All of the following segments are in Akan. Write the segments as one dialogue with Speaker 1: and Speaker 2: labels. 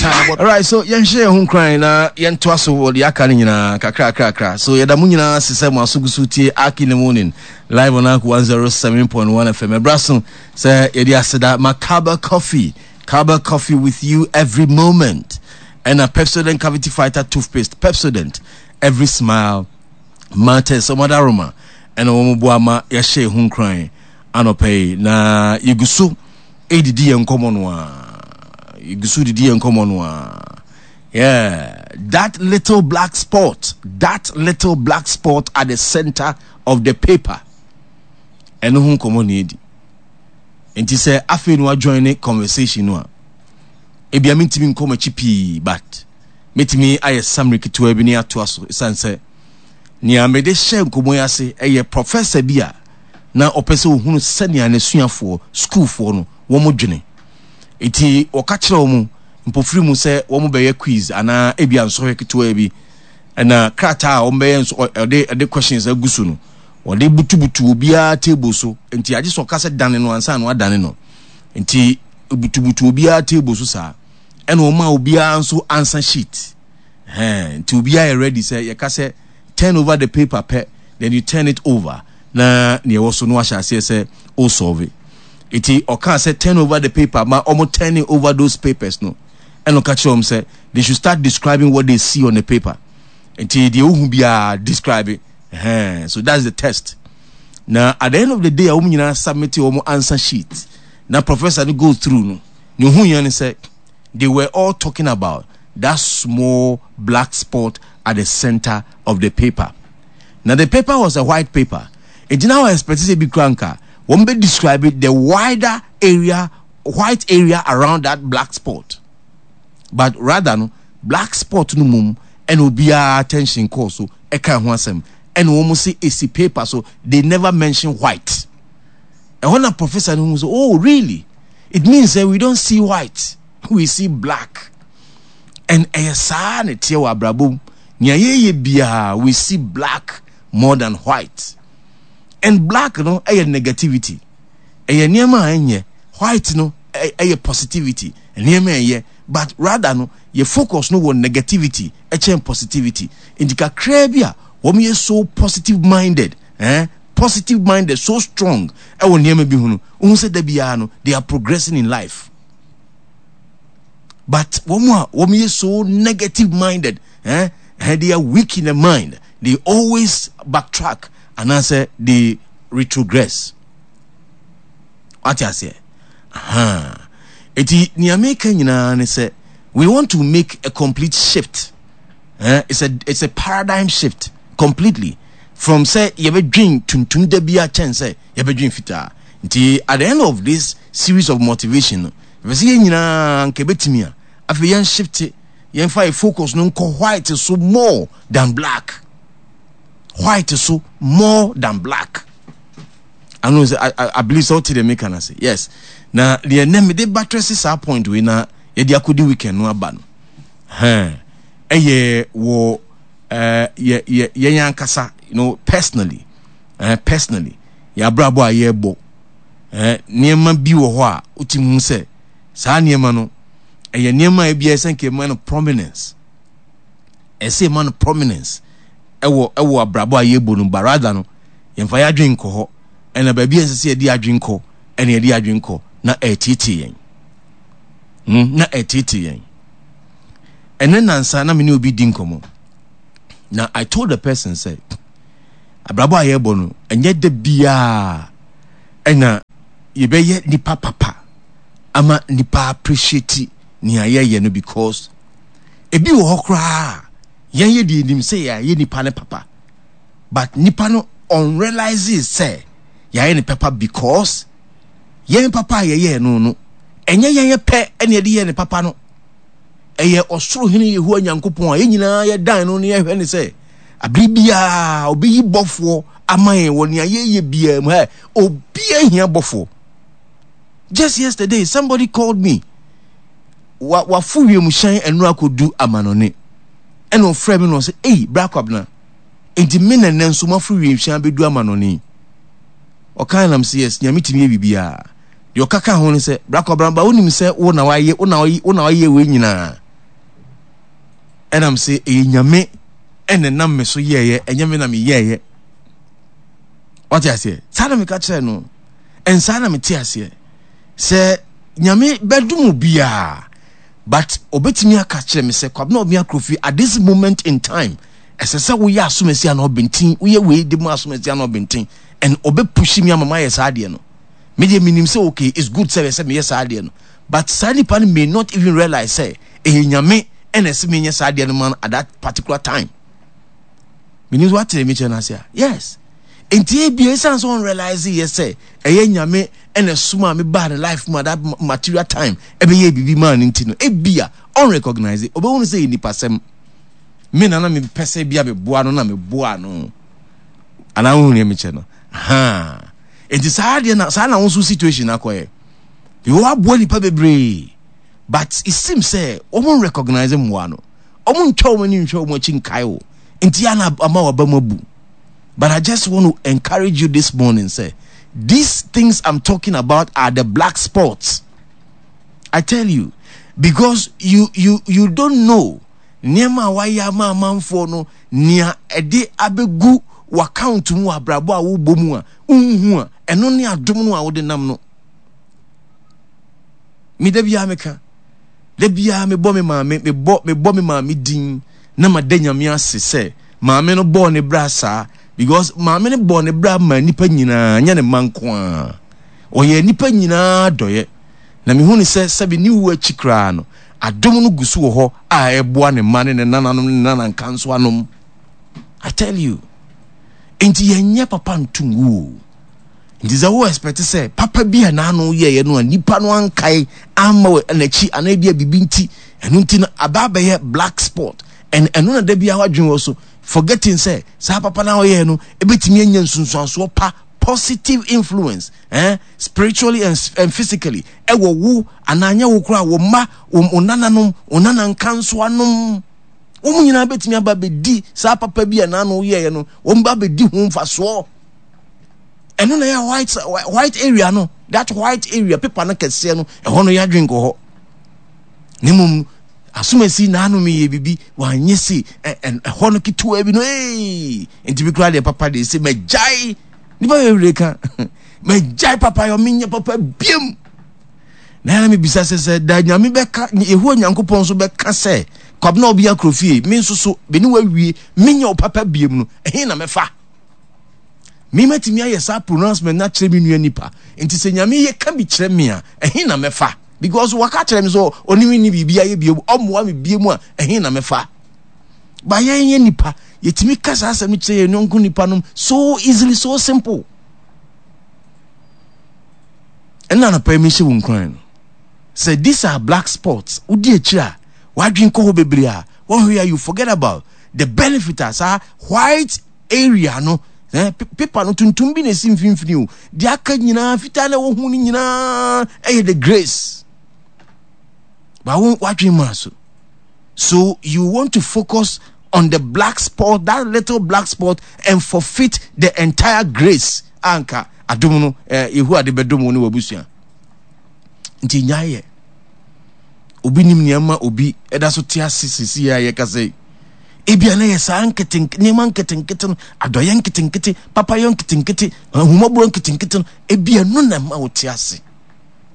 Speaker 1: time.
Speaker 2: All right, so yɛnhyɛ yɛn ho nkuran na yɛntoa so wɔ deɛ aka no nyinaa kakrakrakra. So yɛda mo nyinaa ase sɛ mo aso gu so tie Ark in the Morning live on Ark 107.1 FM. Ɛbra so sɛ yɛde aseda ma Kaba Coffee, Kaba Coffee with you every moment. Ɛna Pepsodent Cavity Fighter Toothpaste, Pepsodent, every smile matters. Ɔmadaroma ɛna wɔn boa ma yɛahyɛ yɛn ho nkuran anɔpa yi na yɛgu so redidi yɛn nkɔmmɔ no a yɛgu so didi yɛn nkɔmmɔ no a yeah that little black spot that little black spot at the center of the paper ɛno ho nkɔmmɔ na yɛdi nti sɛ afei no wajoin ne conversation no a ebia mentumi nkɔ m'akyi pii but mɛtumi ayɛ summary ketewa bi ne atoa so ɛsiane sɛ nea mede hyɛ nkɔmmɔ yi ase ɛyɛ professor bi a na ɔpɛ sɛ ɔhunu sɛnea n'asuafoɔ, sukuufoɔ no, wɔn dwene. Enti ɔka kyerɛ wɔn mpofiri mu sɛ wɔn bɛyɛ quiz anaa ebia nsɔhwɛ ketewa bi. Ɛna krataa a wɔn bɛyɛ nso ɔde ɛde questions agu so no, wɔde butubutu obiara table so. Enti agye sɛ ɔka sɛ dane no ansa na wadane no. Enti butubutu obiara table so saa. Ɛna ɔma obiara nso answer sheet. Ɛhɛn, nti obiara yɛ ready sɛ yɛka sɛ turn over the paper pɛ, then you turn it over na nea ɛwɔ so no wahyɛ aseɛ sɛ o solve. Nti ɔkaa sɛ turn over the paper ma ɔmo turning over those papers no, ɛna ɔka kyerɛ wɔn sɛ they should start describing what they see on the paper. Nti deɛ wohu biara describe. Ɛhɛn, so that's the test. Na at the end of the day a wɔn nyinaa submit wɔn answer sheet na professor no go through no, nea ohun yɛn ne sɛ they were all talking about that small black spot at the center of the paper. Now the paper was a white paper. Nti na wɔn expect sɛ bi kura nka wɔn bɛ describe the wider area, white area around that black spot. But rather no, black spot no mum ɛna obiara attention kɔɔ so ɛka ho asɛm ɛna wɔn se esi paper so they never mention white. Ɛhɔ na professor no hu sɛ oh really it means that we don't see white we see black and ɛyɛ saa na ɛteɛ wɔ abrabɔ mu nea yɛyɛ biara we see black more than white and black no ɛyɛ negativity ɛyɛ nneɛma a ɛnyɛ white no ɛyɛ positivity nneɛma ɛyɛ but rather no yɛ focus no wɔ negativity ɛkyɛn positivity nti kakraa bi a wɔn yɛ so positive minded eh positive minded so strong ɛwɔ nneɛma bi ho no wohu sɛ da biara no they are progressing in life but wɔn a wɔn yɛ so negative minded eh, eh, they are weak in the mind they always backtrack anaasɛ they retrogress wate aseɛ aha eti nea meka nyinaa ne sɛ we want to make a complete shift eh, it's a it's a paradigm shift completely from sɛ yɛbɛdwen tuntum da bi akyɛn sɛ yɛbɛdwen fitaa nti at the end of this series of motivation no yɛpɛ sɛ yɛn nyinaa nka ɛbɛtumi a afei yɛn shift yɛmfa yɛ focus no nkɔ white so more than black white so more than black I know I, I, I believe sɛ wote deɛ meka no ase yes na deɛ nɛ mede batrɛ se saa point wei na yɛde akɔdi weekend no aba no ɛyɛ wɔ yɛ yɛ yɛn ankasa you know personally personally yɛ abrabɔ a yɛrebɔ nneɛma bi wɔ hɔ a wotumi hu sɛ saa nneɛma no ɛyɛ nneɛma a ebi ɛsɛ nka ɛma no prominence ɛsɛ ɛma no prominence ɛwɔ ɛwɔ abrabɔ a yɛrebɔ no but rather no yɛmfa yɛ adwene nkɔ hɔ ɛna baabi a ɛsɛ sɛ yɛde adwene kɔ ɛna yɛde adwene kɔ na ɛretietie yɛn na ɛretietie yɛn. Ɛnɛ nansa na me ne obi di nkɔmmɔ na I told the person sɛ abrabɔ a yɛrebɔ no ɛnyɛ da biara ɛna yɛbɛyɛ nipa papa ama nipa appreciate nea yɛyɛ no because ebi wɔ hɔ koraa yɛn yɛ deɛ nim sɛ yɛayɛ nipa no papa but nipa no unrealize sɛ yɛayɛ ne papa because yɛn papa a yɛyɛɛ no no ɛnyɛ yɛn pɛ ɛna yɛde yɛɛ ne papa no Ɛyɛ ɔsoro Hene Yehowa Nyankopɔn a yɛn nyinaa yɛdan no na yɛhwɛ ne sɛ abere biara ɔbɛyi bɔfoɔ ama yɛn wɔ nea yɛyɛ biara mu. Hey, obiara hia bɔfoɔ. Just yesterday, somebody called me. Wa wafo wiemhyɛn ɛno akɔdu amanɔne. Ɛna ɔfrɛ me na ɔsɛ, ei, bra kwabena. Enti me na nnɛ nso mafo wiemhyɛn abɛdu amanɔne. Ɔkan nam sɛ yes, nyame tumi yɛ biribiara. Deɛ ɔka ka ho ne sɛ, Bra Kwabena, ba wonim sɛ wo na wayɛ wo na wo na wayɛ wei nyinaa. Ɛnam sɛ ɛyɛ Nyame ɛna ɛnam me so yɛɛyɛ, ɛnyɛ me na meyɛɛyɛ. Wate aseɛ? Saa na meka kyerɛ no. Ɛnsaa na mete aseɛ. Sɛ Nyame bɛdom obiara, but obetumi aka kyerɛ me sɛ Kwabena Obia Krofi at this moment in time, ɛsɛ sɛ woyɛ asomasi anaa ɔbɛntin, woyɛ wei de ma asomasi anaa ɔbɛntin, and ɔbɛpushi me ama mayɛ saa adeɛ no. Me deɛ menim sɛ okay, it's good sɛ ɛsɛ meyɛ saa adeɛ no, but saa nipa no may not even realize sɛ ɛyɛ Nyame ɛna ɛsɛ menyɛ saa adeɛ no ma no at that particular time. Menim sɛ woate me kyerɛ no ase a. Yes. Nti ebia ɛsiane sɛ ɔnrealise yɛ sɛ ɛyɛ Nyame ɛna ɛsomaa me baa ne life mu at that material time ɛbɛyɛ biribi maa no nti no, ebia ɔnrecognize, ɔbɛhunu sɛ ɛyɛ nipasɛm. Me na na mepɛ sɛ ebia meboa no na meboa no. Anaa wohu nea mekyɛ no? Ha. Nti saa deɛ na saa na wo nso situation akɔyɛ. Because waboa nipa bebree. But it seems sɛ wɔn recognize mmoa no. Wɔn ntwa wɔn ani nhwɛ wɔn akyi nkae wo. Nti ya na ama waba mu abu. But I just want to encourage you this morning sɛ these things I'm talking about are the black spots. I tell you because you you you don't know nneɛma a wayɛ ama amanfoɔ no nea ɛde abɛgu w'account mu wɔ abrabɔ a wobɔ mu a wonhu a ɛno ne adom no a wode nam no. Me da biara meka da biara mebɔ me maame mebɔ mebɔ me maame din na mada Nyame ase sɛ maame no bɔɔ ne bra saa because maame no bɔɔ ne bra maa nnipa nyinaa nyɛ ne mma nko ara ɔyɛɛ nnipa nyinaa dɔyɛ na mehu ne sɛ sɛbe ne wu akyi koraa no adom no gu so wɔ hɔ a ɛboa ne mma ne ne nananom ne ne nanankanso anom. I tell you nti yɛnyɛ papa nto ngu o. Nti sɛ wo expect sɛ papa bi a n'ano yɛeɛ no a nipa no ankae amma wɔ n'akyi anaa ebi a biribi nti ɛno nti no aba abɛyɛ black spot and ɛno na da biara wadwene wɔ so forgetting sɛ saa papa no a ɔyɛɛ no ebetumi anya nsunsuansoɔ pa positive influence eh, spiritually and, and physically ɛwɔ wo anaa nyɛ wo koraa wo mma wo nananom wo nanankansoanom wɔn nyinaa betumi aba abɛdi saa papa bi a n'ano yɛeɛ no wɔn ba abɛdi ho mfasoɔ. Ɛno na ɛyɛ white white area no that white area paper no kɛseɛ no ɛhɔ no yɛadwen kɔ hɔ ne mmom asomasi naano meyɛ biribi wanyɛ se ɛhɔ no ketewa bi no ee nti bi koraa deɛ papa deɛ sɛ magyae nipa bebree ka magyae papa yɛ menyɛ papa biam na yɛn mebisa sɛ sɛ da nyame bɛka yehowa nyankopɔn nso bɛka sɛ kwabena obi akoro fie me nso so me ne wawie menyɛ wo papa biam no ɛhe na mɛfa Me mɛtumi ayɛ saa pronouncement no akyerɛ me nua nipa. Nti sɛ Nyame yɛ ka bi kyerɛ me a, ɛhe na mɛfa? Because waka kyerɛ me sɛ ɔne me nni biribi ayɛ bio, ɔmmoa me bio mu a, ɛhe na mɛfa? Ba yɛn yɛ nipa, yɛtumi ka saa asɛm no kyerɛ yɛn yɔnko nipa nom so easily, so simple. Ɛna anɔpa yi mehyɛ wo nkuran no sɛ these are black spots, wodi akyire a, wadwen kɔ hɔ bebree a, wɔhwɛ a you forget about the benefit a saa white area no eh, paper no tuntum bi na esi mfimfini o deɛ aka nyinaa fitaa na ɛwɔ ho no nyinaa ɛyɛ the grace ba wo wadwen maa so so you want to focus on the black spot that little black spot and forfeit the entire grace anka adom no eh, yehowa de bɛdom wo ne w'abusua nti nyaayɛ obi nim nea ma obi ɛda so te ase sisi a yɛkasa yi ebia na yɛ saa nkete nneɛma nketenkete no adɔyɛ nketenkete papayɔ nketenkete ahummɔborɔ nketenkete no ebia no na ɛma wote ase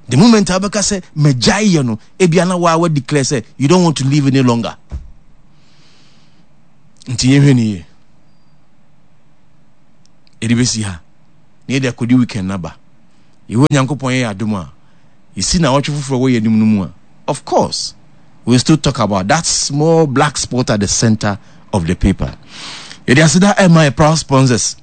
Speaker 2: the moment a wobɛka sɛ magyae yɛ no ebia na waa wa declare sɛ you don't want to live any longer nti yɛhwɛ ne yie ɛde bɛsi ha na yɛde akɔdi weekend no aba yehowa nyankopɔn yɛ adom a yɛsi na ɔtwe foforɔ wɔ yɛn anim no mu a of course we still talk about that small black spot at the center of the paper. Yɛde aseda ɛma yɛ proud sponsors.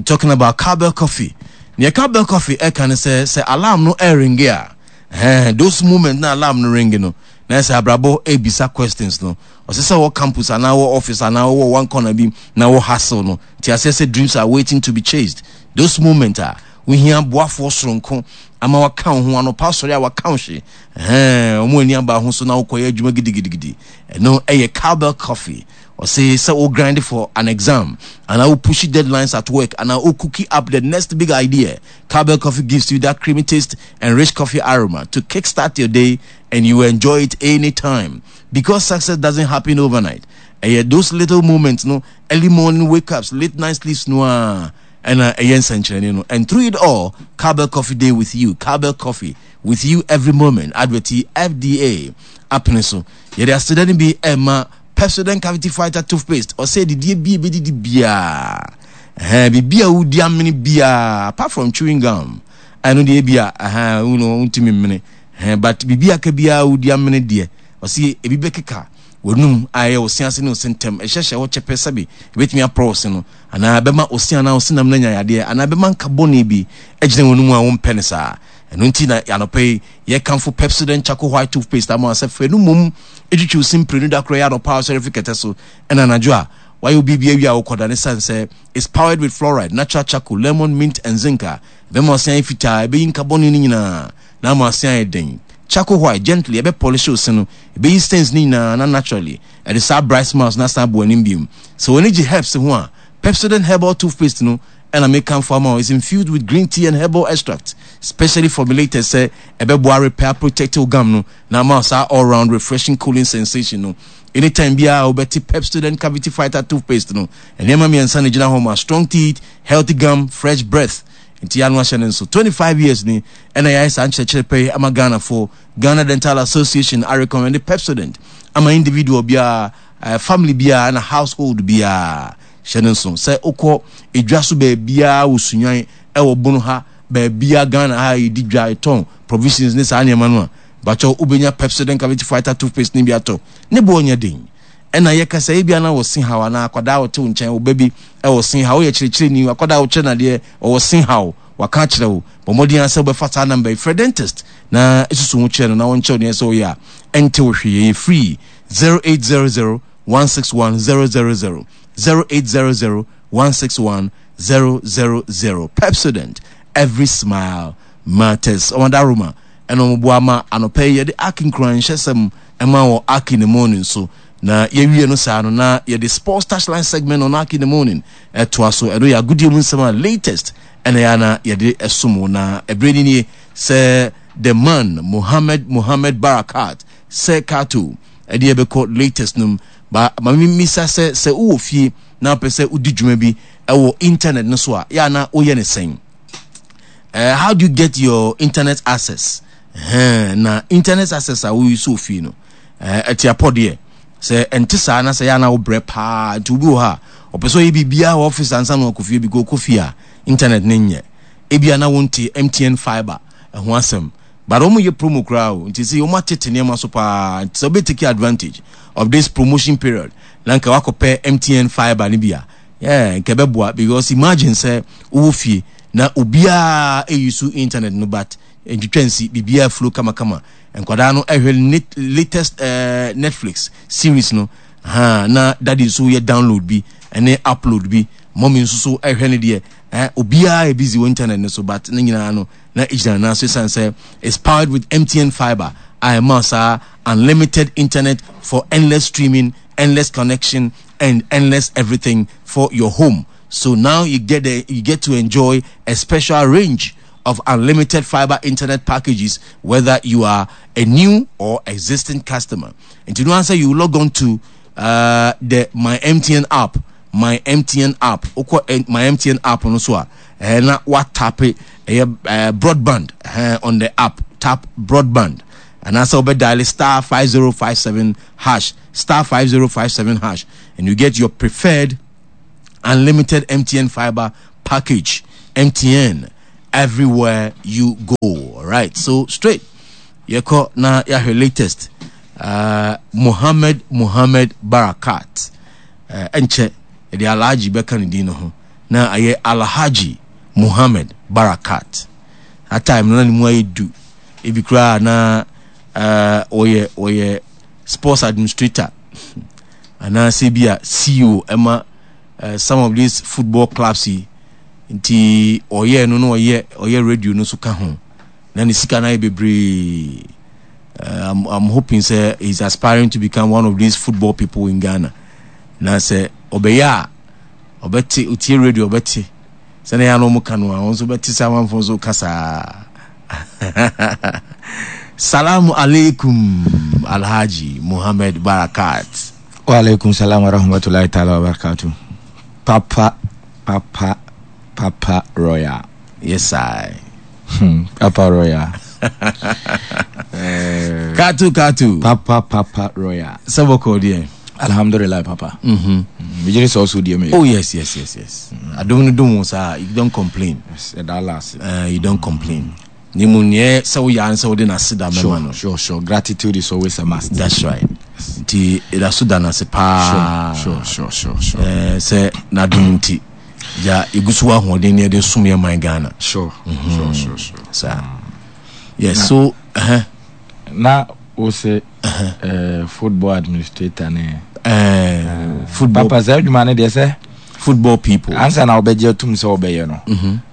Speaker 2: Talking about Cowbell Coffee. Nea Cowbell Coffee ɛka ne sɛ sɛ alarm no ɛringe a, eh, those moment na alarm no ringe no, na ɛsɛ abrabɔ ɛbisa questions no. Ɔsɛ sɛ wɔ campus anaa wɔ office anaa wɔ one corner bi na wɔ hustle no. Ti aseɛ sɛ dreams are waiting to be chased. Those moment a. Wohia boafoɔ soronko ama waka wo ho anɔpa asɔre a waka wo hye. Ɛhɛn, wɔn ani aba ho so na wokɔyɛ adwuma gidigidigidi. Ɛno ɛyɛ Cowbell Coffee. Ɔse sɛ wo grind for an exam anaa wo push deadlines at work anaa wo cookie up the next big idea, Cowbell Coffee gives you that creamy taste and rich coffee aroma to kickstart your day and you enjoy it anytime. Because success doesn't happen overnight. Ɛyɛ those little moments no, early morning wake ups, late night sleeps no a ɛna ɛyɛ nsɛnkyerɛnne no. And through it all, Cowbell Coffee Day with you. Cowbell Coffee with you every moment. Advert yi FDA apene so. Yɛde aseda no bi ɛma Pepsodent Cavity Fighter Toothpaste. Ɔsɛ didie bi ebedidi biara. Ɛhɛn, biribi a wodi amene biara apart from chewing gum. Ɛno deɛ ebi a ɛhɛn, wo no wontumi mmene. Ɛhɛn, but biribi aka biara wodi amene deɛ. Ɔsɛ ebi bɛkeka w'anum a ɛyɛ wo se ase ne wo se ntam. Ɛhyɛhyɛ hɔ kyɛpɛ sɛbe ebetumi aporɔ wo se no anaa ɛbɛma wo se anaa wo senam no anya yadeɛ anaa ɛbɛma nka bɔne bi agyina w'anum a wompɛ no saa. Ɛno nti na anɔpa yi yɛkamfo Pepsodent Charcoal White Toothpaste ama wo sɛ fa ɛno mmom twitwi wo se mprenu da koro ɛyɛ anɔpa a wosɔre fi kɛtɛ so ɛna anadwo a wayɛ wo biribi awie a wokɔda no esiane sɛ it's powered with fluoride, natural charcoal, lemon, mint and zinc a ɛbɛma wo se ayɛ fitaa, ɛbɛyi nka bɔne no nyinaa na ama wo se ayɛ den. Charcoal White, gently ɛbɛ polish wo se no, ɛbɛyi stains no nyinaa na naturally ɛde saa bright smiles no asan abɔ w'anim biom. Sɛ w'ani gye herbs ho a, Pepsodent Herbal Toothpaste no ɛna mekamfo ama wo. It's infused with green tea and herbal extract, specially formulated sɛ ɛbɛboa repair, protect wo gum no na ama wo saa all round refreshing cooling sensation no. Anytime biara a wobɛte Pepsodent Cavity Fighter Toothpaste no, nneɛma mmiɛnsa na egyina hɔ ma strong teeth, healthy gum, fresh breath. Nti ano ahyɛ no nso. 25 years ni ɛna yɛayɛ saa nkyerɛkyerɛ pɛ yi ama Ghanafoɔ. Ghana Dental Association arecommend Pepsodent ama individual biara, family biara ɛna household biara. Hyɛ no nso sɛ wokɔ edwa so baabiara wɔ Sunyani, ɛwɔ Bono ha, baabiara Ghana ha a yɛdi dwa, yɛtɔn provisions ne saa nneɛma no a, mpakyɛw wobɛnya Pepsodent Cavity Fighter toothpaste no bi atɔ. Ne boɔ nyɛ den. Ɛna yɛka sɛ ebia na wɔ se haw anaa akwadaa a ɔte wo nkyɛn, wo ba bi wɔ se haw, woyɛ kyerɛkyerɛni, akwadaa a wokyerɛ no adeɛ, ɔwɔ se haw, waka akyerɛ wo. Bɔ mmɔden ara sɛ wobɛfa saa number yi, frɛ dentist na susu ho kyerɛ no na ɔnkyerɛ wo nea ɛsɛ sɛ woyɛ a ɛnte wo hwee. Ɛyɛ free, 0800 161 000, 0800 161 000. Pepsodent, every smile matters. Ɔmada Roma ɛna wɔn boa ma anɔpa yi yɛde Ark nkuranhyɛsɛm ɛma wɔ Ark in the morning so. Na yɛwie no saa no na yɛde sports touchline segment on Ark in the morning ɛtoa so. Ɛno yɛ agodie mu nsɛm a latest ɛna yɛ ana yɛde ɛsom wo. Na ɛberɛ ni nie sɛ the man Mohammed Mohammed Barakat sɛ Kato ɛde yɛbɛkɔ latest no mu. Ba ma memmisa sɛ sɛ wowɔ fie na wopɛ sɛ wodi dwuma bi ɛwɔ internet no so a yɛ ana woyɛ ne sɛn? How do you get your internet access? Na internet access a woyi so fie no ɛte apɔ deɛ sɛ ɛnte saa na sɛ yɛ ana wobrɛ paa nti obi wɔ hɔ a ɔpɛ sɛ ɔyɛ biribiara wɔ office ansa na ɔkɔ fie bi kɔ fie a internet ne nyɛ ebia na wonte MTN fiber ɛho asɛm but wɔn yɛ promo koraa o nti sɛ wɔn atete nneɛma so paa nti sɛ wobɛ take advantage of this promotion period na nka wakɔpɛ MTN fiber no bi a yeah nka ɛbɛboa because imagine sɛ wowɔ fie na obiara ɛyi so internet no but ntwitwa nsi biribiara flow kamakama nkwadaa no ɛhwɛ latest Netflix series no ha na daddy nso yɛ download bi ɛne upload bi mommy nso so ɛhwɛ ne deɛ obiara yɛ busy wɔ internet no so but ne nyinaa no na egyina nan so esiane sɛ it's powered with MTN fibre a ɛma saa unlimited internet for endless streaming, endless connection and endless everything for your home. So now you get to enjoy a special range of unlimited fiber internet packages whether you are a new or existing customer. And to answer, you log on to the My MTN app. My MTN app. Wokɔ My MTN app no so a, na watape ɛyɛ broadband on the app. Tap broadband. And also dial star 5057 hash, star 5057 hash, and you get your preferred unlimited MTN fiber package. MTN everywhere you go. All right, so straight. Yɛkɔ na yɛahwɛ latest. Mohammed Mohammed Barakat. Ɛnkyɛ yɛde Alhaji bɛka ne din no ho na ayɛ Alhaji Mohammed Barakat. That time no na ne mu ayɛ du. Ebi koraa na ɔyɛ ɔyɛ sports administrator anaasɛ bi a CEO ɛma some of these football clubs yi. Nti ɔyɛɛ no na ɔyɛ ɔyɛ radio no so ka ho. Na ne sika no ayɛ bebree. Uh, I'm, I'm hoping sɛ he's aspiring to become one of these football people in Ghana. Na sɛ ɔbɛyɛ a ɔbɛte otie radio ɔbɛte sɛnea yɛn ano ka no a wɔn nso bɛte sɛ amanfoɔ nso ka saa. Salamu alaikum Alhaji Muhammad Barakat.
Speaker 1: Wa alaikum salam wa rahmatullahi ta'ala wa barakatuh. Papa, Papa, Papa Royal.
Speaker 2: Yes, I.
Speaker 1: Papa Royal.
Speaker 2: Katu, Katu.
Speaker 1: Papa, Papa Royal.
Speaker 2: Sɛ bɔkɔ deɛ.
Speaker 1: Alhamdulillah, Papa. Megyere sɛ ɔso deɛ meyɛ.
Speaker 2: Oh, yes, yes, yes, yes. Adom no dom wo saa, you don't complain.
Speaker 1: Yes, ɛda Allah ase.
Speaker 2: You don't complain. Ne mu neɛ sɛ woyɛ ara sɛ wode n'aseda mɛma no.
Speaker 1: Sure. Gratitude is always a must.
Speaker 2: That's right. Nti ɛda so da n'ase paa.
Speaker 1: Sure.
Speaker 2: Sɛ n'adom nti, gya yɛgu so wɔ ahoɔden ne yɛde som yɛ man Ghana.
Speaker 1: Sure.
Speaker 2: Saa. Yes, so, uh-huh.
Speaker 1: Na wo se football administrator ne.
Speaker 2: Football.
Speaker 1: Papa sɛ adwuma no deɛ sɛ.
Speaker 2: Football people.
Speaker 1: Ansa na wobɛgye atum sɛ wobɛyɛ no.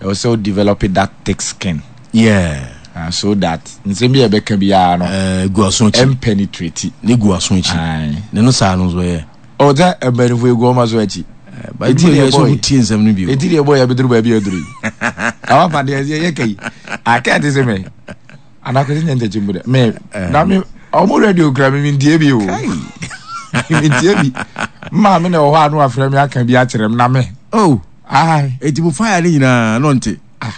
Speaker 1: Ɛwɔ sɛ wo develop that thick skin.
Speaker 2: Yeah.
Speaker 1: So that nsɛm bi a ɛbɛka biara no.
Speaker 2: Gu aso akyi.
Speaker 1: Ɛmpenetrate.
Speaker 2: Ne gu aso akyi. Ne no saa no nso yɛ.
Speaker 1: Ɔ sɛ mpanimfoɔ egu wɔn aso akyi.
Speaker 2: Eti deɛ bɔ yi tie nsɛm no bi.
Speaker 1: Eti deɛ bɔ yi abɛduru baabi aduru yi. Awa pa deɛ yɛ kɛ yi. Akɛ te sɛ mɛ. Anakwesi nyɛ ntɛkyi mu dɛ. Mɛ na mi ɔmo radio kura mi mi ntie bi o. Mi ntie bi. Mmaa mi na ɛwɔ hɔ a no afrɛ mi aka bi akyerɛ mi na mi.
Speaker 2: Oh.
Speaker 1: Ayi.
Speaker 2: Eti mo fire ne nyinaa no nte.
Speaker 1: Ah.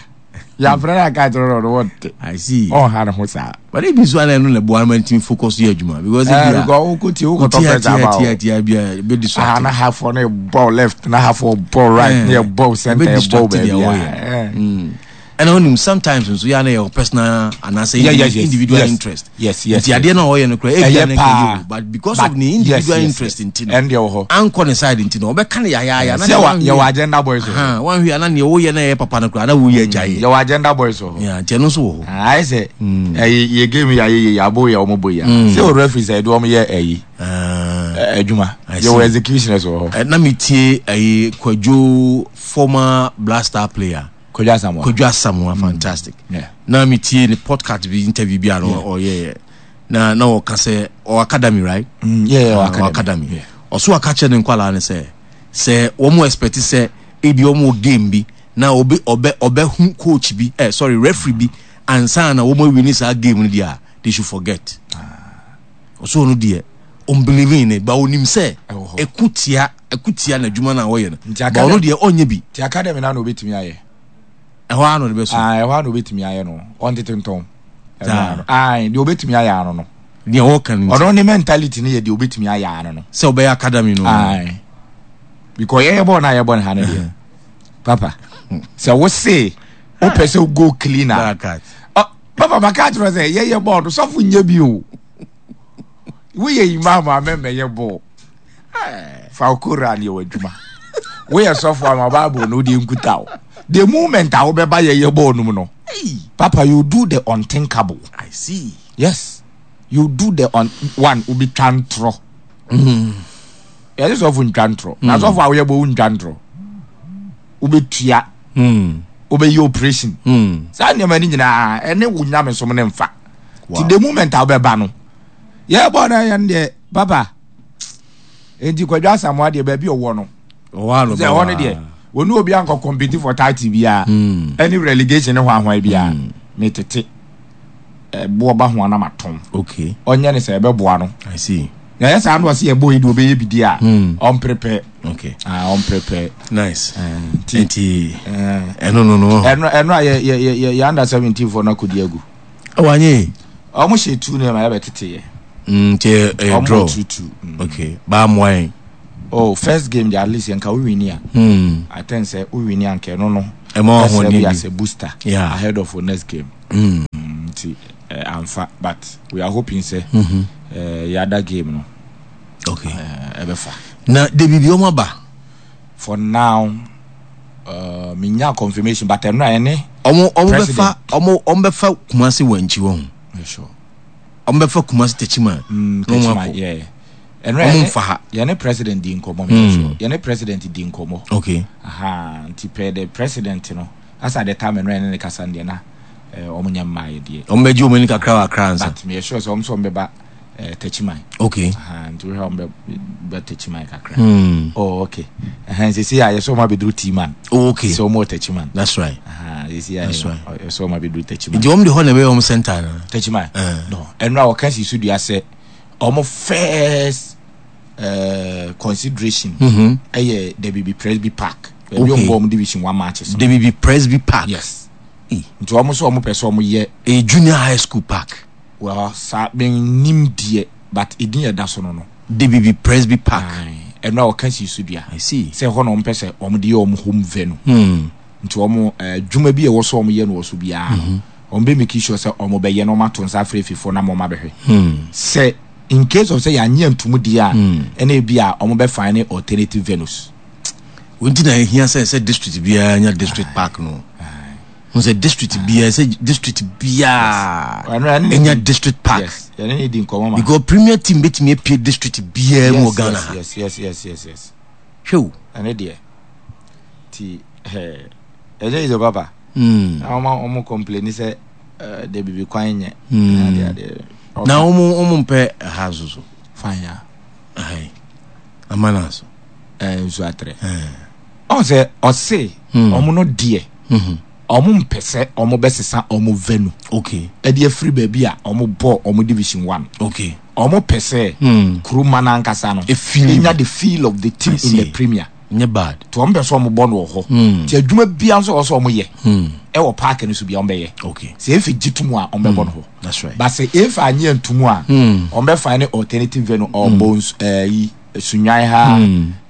Speaker 1: Yàfrɛ no aka akyerɛ no ɔno wɔnte.
Speaker 2: I see.
Speaker 1: Ɔnha ne ho saa.
Speaker 2: But ebi nso ana ɛno na ɛboa ma ntumi focus yɛ adwuma because ebi a.
Speaker 1: Because wokɔ tie wokɔ tɔ press aba o.
Speaker 2: Tia tia bi a ebe distract.
Speaker 1: Ah na hafoɔ no bɔ left na hafoɔ bɔ right na yɛ bɔ center yɛ bɔ baabi a.
Speaker 2: Ɛna onim sometimes nso yɛ ana yɛ personal anaasɛ individual interest.
Speaker 1: Yes.
Speaker 2: Nti adeɛ na ɔyɛ no kora ebi a na
Speaker 1: ɛyɛ
Speaker 2: o but because of ne individual interest nti no.
Speaker 1: Ɛn deɛ wɔ hɔ.
Speaker 2: Ankɔ ne side nti no ɔbɛka no yayaaya.
Speaker 1: Na sɛ yɛ wɔ agenda boys wɔ
Speaker 2: hɔ. Wɔn hwɛ ana nea wɔyɛ na ɛyɛ papa no kora na wɔyɛ agya yɛ.
Speaker 1: Yɛ wɔ agenda boys wɔ hɔ.
Speaker 2: Yeah, nti ɛno nso wɔ hɔ.
Speaker 1: Ayɛ sɛ ɛyi yɛ game yɛ ayɛ yɛ abo yɛ wɔn bɔ yɛ. Sɛ o referee sɛ ɛde wɔn yɛ ɛyi. Adwuma. Yɛ wɔ executioners wɔ
Speaker 2: hɔ. Na mi tie ɛyi Kwadwo former Black Star player.
Speaker 1: Kwadwo Asamoah.
Speaker 2: Kwadwo Asamoah mm. fantastic. Yeah. Na mi tie ne podcast bi interview bi a no ɔyɛ yɛ. Na na ɔka sɛ ɔ academy right?
Speaker 1: Mm, yeah, yeah, uh,
Speaker 2: academy. academy. Yeah. Ɔso aka kyerɛ ne nkwalaa ne sɛ sɛ wɔn expect sɛ ebi wɔn wɔ game bi na ɔbɛ ɔbɛ ɔbɛ hu coach bi eh sorry referee bi ansa na wɔn awi ne saa game no deɛ a they should forget. Ɔso ɔno deɛ ɔn believe in it but onim sɛ ɛko tia ɛko tia n'adwuma no a ɔyɛ no but ɔno deɛ ɔnyɛ bi.
Speaker 1: Ti academy na na obetumi ayɛ.
Speaker 2: Ɛhɔ ara na ɔde bɛso.
Speaker 1: Ah ɛhɔ ara na obetumi ayɛ no ɔntete ntɔn. Saa. Ah deɛ obetumi ayɛ ano no.
Speaker 2: Deɛ ɔka no.
Speaker 1: Ɔno ne mentality no yɛ deɛ obetumi ayɛ ano no.
Speaker 2: Sɛ ɔbɛyɛ academy no.
Speaker 1: Ah because yɛyɛ bɔɔl na yɛbɔ ne ha no deɛ papa sɛ wose wopɛ sɛ go clean a. Papa maka akyerɛ sɛ yɛyɛ bɔɔl no sɔfo nyɛ bi o. Woyɛ imam a mɛmɛyɛ bɔɔl. Fa wo Koran yɛ w'adwuma. Woyɛ sɔfo ama Bible no wode nkuta wo. The moment a wobɛba yɛyɛ bɔɔl no mu no, Papa you do the unthinkable.
Speaker 2: I see.
Speaker 1: Yes. You do the un one wobɛtwa ntorɔ. Mm. Yɛse sɔfo ntwa ntorɔ. Na mm. sɔfo a woyɛ bɔ wo ntwa ntorɔ. Wobɛtua.
Speaker 2: Mm.
Speaker 1: Wobɛyɛ operation.
Speaker 2: Mm.
Speaker 1: Saa nneɛma no nyinaa ɛne wo nyamesom no mfa. Ti the moment a wobɛba no yɛbɔ no yɛn deɛ papa nti Kwadwo Asamoah deɛ baabi ɔwɔ no sɛ ɛhɔ no deɛ wɔne obi ankɔ compete for title biara hmm. ɛne relegation ne hwanhwan biara hmm. metete ɛboɔ ba ho anam atɔn ɔnyɛ ne sɛ ɛbɛboa no na ɛyɛ saa na ɔsɛ yɛbɔ yi deɛ ɔbɛyɛ bi di a hmm. ɔmprepɛ ah, ɔmprepɛ
Speaker 2: nice eh, nti eh, ɛno no no
Speaker 1: ɛno ɛno a yɛ yɛ yɛ yɛ under 17 foɔ no akɔdi agu
Speaker 2: Wanyɛ yi.
Speaker 1: Ɔmo hyɛ tu ne ma yɛbɛ tete yɛ.
Speaker 2: Mm, nti ɛyɛ draw.
Speaker 1: Ɔmo tu.
Speaker 2: Mm. Okay, baa mmoa yɛn.
Speaker 1: Oh, first game de at least nka wo wini a.
Speaker 2: Mm.
Speaker 1: I think sɛ wo wini a nka ɛno no.
Speaker 2: Ɛma ɔho
Speaker 1: ne bi. As a booster.
Speaker 2: Yeah.
Speaker 1: Ahead of our next game.
Speaker 2: Mm.
Speaker 1: Nti eh, amfa but we are hoping sɛ.
Speaker 2: Mm -hmm.
Speaker 1: Eh, yɛada game no.
Speaker 2: Okay.
Speaker 1: Eh, ɛbɛfa.
Speaker 2: Na de biribi ɔmo aba.
Speaker 1: For now. Uh, menya confirmation but ɛno a ɛne.
Speaker 2: Ɔmo ɔmo bɛfa ɔmo ɔmo bɛfa Kumasi wɔ nkyi wɔn.
Speaker 1: Yeah, sure.
Speaker 2: Ɔmo bɛfa Kumasi Techiman.
Speaker 1: Mm, Techiman yeah.
Speaker 2: Ɔmo nfa ha.
Speaker 1: Yɛne president di nkɔmɔ mi sure. Yɛne president di nkɔmɔ.
Speaker 2: Okay.
Speaker 1: Aha, nti pɛ the president no. As at the time ɛno yɛne ne kasa no deɛ na ɔmo nyɛ mmaa yɛ deɛ.
Speaker 2: Ɔmo bɛgye ɔmo ani kakra wɔ Accra ansa.
Speaker 1: But meyɛ sure sɛ ɔmo sɛ ɔmo bɛba Techiman.
Speaker 2: Okay.
Speaker 1: Aha, nti wohwɛ ɔmo bɛ bɛ Techiman kakra. Oh, okay. Ɛhɛn, sisi a yɛsɛ ɔmo abɛduru T-man.
Speaker 2: Oh, okay.
Speaker 1: Sɛ ɔmo wɔ Techiman.
Speaker 2: That's right.
Speaker 1: Aha, sisi a
Speaker 2: That's right.
Speaker 1: yɛsɛ ɔmo abɛduru Techiman.
Speaker 2: Nti ɔmo de hɔ na ɛbɛyɛ ɔmo center no.
Speaker 1: Techiman. No, ɛno a wɔka si so dua sɛ ɔmo first consideration ɛyɛ Debibi Presby Park. Baabi ɔmo bɔ ɔmo division one matches.
Speaker 2: Debibi Presby Park.
Speaker 1: Yes. Nti ɔmo sɛ ɔmo pɛ sɛ ɔmo yɛ.
Speaker 2: Ɛyɛ junior high school park.
Speaker 1: Well, saa mennim deɛ but edin a ɛda so no no.
Speaker 2: Debibi Presby Park.
Speaker 1: Aye, ɛno a wɔka sii so dua.
Speaker 2: I see.
Speaker 1: Sɛ ɛhɔ na wɔn pɛ sɛ wɔn de yɛ wɔn home venue. Nti wɔn adwuma bi a ɛwɔ so wɔn yɛ no wɔ so biara no, wɔn bɛ make sure sɛ wɔn bɛyɛ na wɔn ato nsa afrɛ efifoɔ na wɔn abɛhwɛ. Sɛ in case of sɛ yɛanye antum deɛ a, ɛna ebi a wɔn bɛ find alternative venues.
Speaker 2: Wɔn ti na ehia sɛ sɛ district biara nya district park no. Ho sɛ district biara sɛ district biara enya district park.
Speaker 1: Yes. Yɛne ne di nkɔmɔ ma.
Speaker 2: Because premier team betumi apue district biara mu wɔ Ghana ha.
Speaker 1: Yes, yes, yes, yes, yes.
Speaker 2: Hwɛ o.
Speaker 1: Ɛne deɛ. Ti ɛɛ ɛnyɛ yi sɛ papa. Na wɔn wɔn complain sɛ ɛɛ de bibi kwan nyɛ. Adeɛ adeɛ.
Speaker 2: Na wɔn wɔn mpɛ ɛha nso so.
Speaker 1: Fine ya.
Speaker 2: Ayi. Amana so.
Speaker 1: Ɛɛ nsu atrɛ. Ɔn sɛ ɔse wɔn no deɛ. Ɔmo mpɛ sɛ ɔmo bɛ sesa ɔmo venue.
Speaker 2: Okay.
Speaker 1: Ɛde afiri baabi a ɔmo bɔ ɔmo division one.
Speaker 2: Okay.
Speaker 1: Ɔmo pɛ sɛ kuruma no ankasa no enya the feel of the team in the premier.
Speaker 2: Nyɛ bad.
Speaker 1: Nti ɔmo pɛ sɛ ɔmo bɔ no wɔ hɔ. Nti adwuma biara nso ɛwɔ sɛ ɔmo yɛ ɛwɔ park no so biara ɔmo bɛyɛ.
Speaker 2: Okay.
Speaker 1: Sɛ efi gye to mu a ɔmo bɛbɔ no hɔ.
Speaker 2: That's right.
Speaker 1: But sɛ efi anye anto mu a ɔmo bɛ find alternative venue ɔbɔ nsu ɛyi Sunyani ha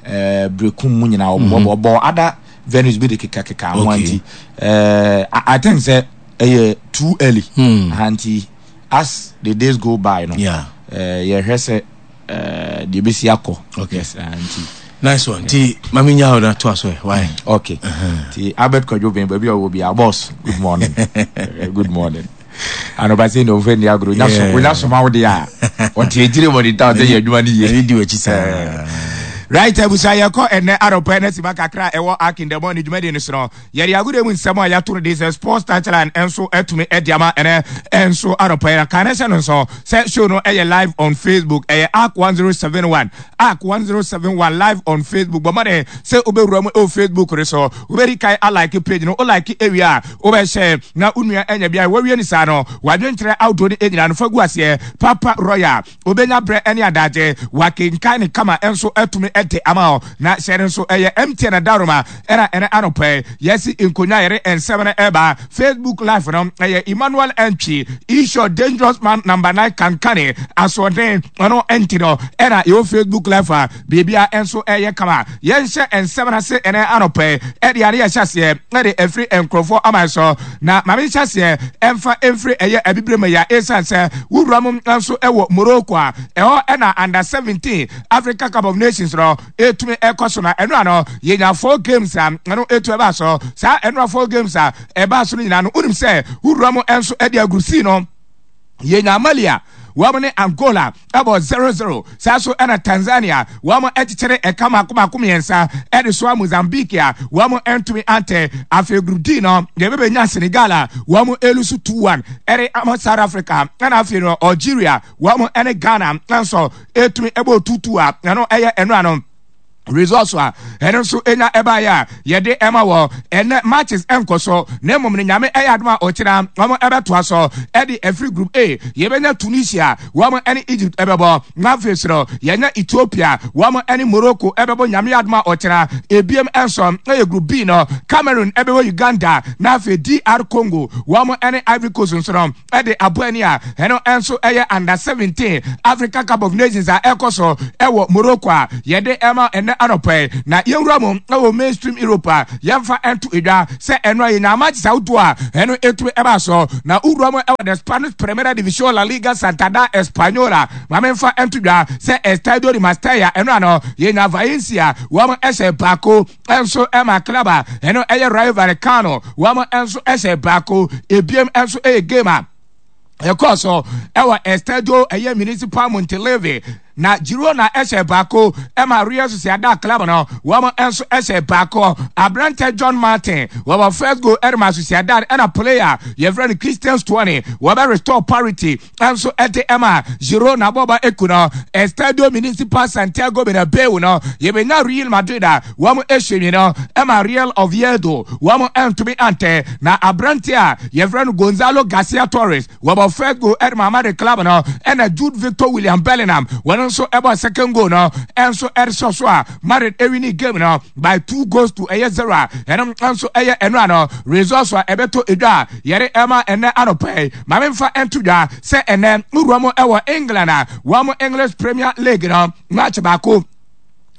Speaker 1: ɛɛ Berekum mu nyinaa ɔbɔ ɔbɔ other venues bi de kekakeka ho nti eh, I think sɛ ɛyɛ too early ha nti as the days go by no
Speaker 2: yeah.
Speaker 1: eh, yɛhwɛ sɛ eh, deɛ ɛbɛsi akɔ
Speaker 2: okay.
Speaker 1: Yes, nti
Speaker 2: nice one nti mame nya hɔ na toa so ɛ why
Speaker 1: okay nti Albert Kwadwo Ben baabi a ɔwɔ biara boss good morning good morning anɔpa sɛ na ɔmfa nni agorɔ wonya soma wo deɛ a ɔte akyire wɔ ne town sɛ yɛ adwuma no yie
Speaker 2: ɛne di w'akyi saa
Speaker 1: right abusua yɛkɔ ɛnɛ anɔpa ɛnɛ sima kakra ɛwɔ akindɛmɔ ne dwumadie no so no yɛde agodie mu nsɛm a yɛato no de sɛ sports touchline nso atumi de ama ɛnɛ nso anɔpa yɛ ka ne hyɛ no nso sɛ show no ɛyɛ live on Facebook ɛyɛ arc 1071 arc 1071 live on Facebook bɔ mmɔden sɛ wobɛwura mu ɛwɔ Facebook no so wobɛdi kan alike page no wolike ewie a Wobɛhyɛ na wo nua anya bi a wawie no saa no, w'adwenkyerɛ ahodoɔ no nyinaa no fa gu aseɛ. Papa Royal, wobɛnya berɛ ne adagye, wakenkan no kama nso atumi de ama wo. Na hyɛ no nso, ɛyɛ MTN Adaworoma ɛna ɛnɛ anɔpa yi yɛasi nkonnwa a yɛde nsɛm no ɛba. Facebook Live no, ɛyɛ Emmanuel Antwi, Isho Dangerous Man Number 9 Kankane, Asoɔden, ɔno nti no ɛna yɛwɔ Facebook Live a Biribiara nso reyɛ kama. Yɛnhyɛ nsɛm no ase ɛnɛ anɔpa yi. Ɛde ade yɛhyɛ aseɛ ɛde afiri nkurɔfoɔ aman so. Na ma menhyɛ aseɛ ɛmfa mfiri ɛyɛ abibire mu ya ɛsiane sɛ wowura mu nso ɛwɔ Morocco a ɛhɔ ɛna under 17 Africa Cup of Nations no ɛtumi ɛkɔ so na ɛno ano yɛnya four games a ɛno ɛtu ɛbaa so. Saa ɛno four games a ɛbaa so no nyinaa no wonim sɛ wowura mu nso ɛde agurusii no yɛnya Mali a wɔn ne Angola ɛbɔ 0-0 saa so ɛna Tanzania wɔn ɛkyekyere ɛka mako mako mmiɛnsa ɛde soa Mozambique a wɔn ɛntumi antɛ. Afei Group D no yɛbɛbɛnya Senegal a wɔn ɛlusu 2-1 ɛde ama South Africa, ɛna afei no Algeria wɔn ɛne Ghana nso ɛtumi ɛbɔ 2-2 a ɛno ɛyɛ ɛno ano results a ɛno nso enya ɛbaeɛ a yɛde ɛma wɔ ɛnɛ matches ɛnkɔ so na mmom no nyame ɛyɛ adom a ɔkyena wɔn ɛbɛtoa so ɛde ɛfiri group A yɛbɛnya Tunisia wɔn ɛne Egypt ɛbɛbɔ na afei so no yɛnya Ethiopia wɔn ɛne Morocco ɛbɛbɔ nyame adom a ɔkyena ebiem ɛnso ɛyɛ group B no Cameroon ɛbɛbɔ Uganda na afei DR Congo wɔn ɛne Ivory Coast nso no de abɔ ani a ɛno nso ɛyɛ under 17 Africa Cup of Nations a ɛkɔ so ɛwɔ Morocco a yɛde ɛma ɛnɛ anɔpa yi. Na yɛnwura mu ɛwɔ mainstream Europe a yɛmfa ɛnto edwa sɛ ɛno a yɛnya matches ahodoɔ a ɛno ɛtumi ɛba so. Na wowura mu ɛwɔ the Spanish Primera Division La Liga Santander Española ma memfa ɛnto dwa sɛ Estadio de Mestalla ɛno ano yɛnya Valencia wɔn ɛhyɛ baako nso ɛma club a ɛno ɛyɛ Rayo Vallecano wɔn nso ɛhyɛ baako. Ebiem nso ɛyɛ game a ɛkɔɔ so ɛwɔ Estadio ɛyɛ Municipal Montilivi. Na Girona hyɛ baako ma Real Sociedad club no, wɔn nso hyɛ baako. Aberantɛ John Martin wɔbɔ first goal de ma Sociedad ɛna player yɛfrɛ no Christian Stuani wɔbɛ restore parity nso de ma Girona bɔba eku no. Estadio Municipal Santiago Bernabeu no yɛbɛnya Real Madrid a wɔn hyɛ nwi no ma Real Oviedo wɔn ntumi antɛ na aberante a yɛfrɛ no Gonzalo Garcia Torres Wɔbɔ first goal ɛde ma Madrid club no ɛna Jude Victor William Bellingham wɔn nso ɛbɔ second goal no ɛnso ɛde sɔ so a Madrid ɛwini game no by 2 goals to 0 a ɛno nso ɛyɛ ɛno ano results a ɛbɛtɔ edwa a yɛde ɛma ɛnɛ anɔpɛ yi. Maame nfa ɛnto dwa sɛ ɛnɛ nwura mu ɛwɔ England a wɔn English Premier League no match baako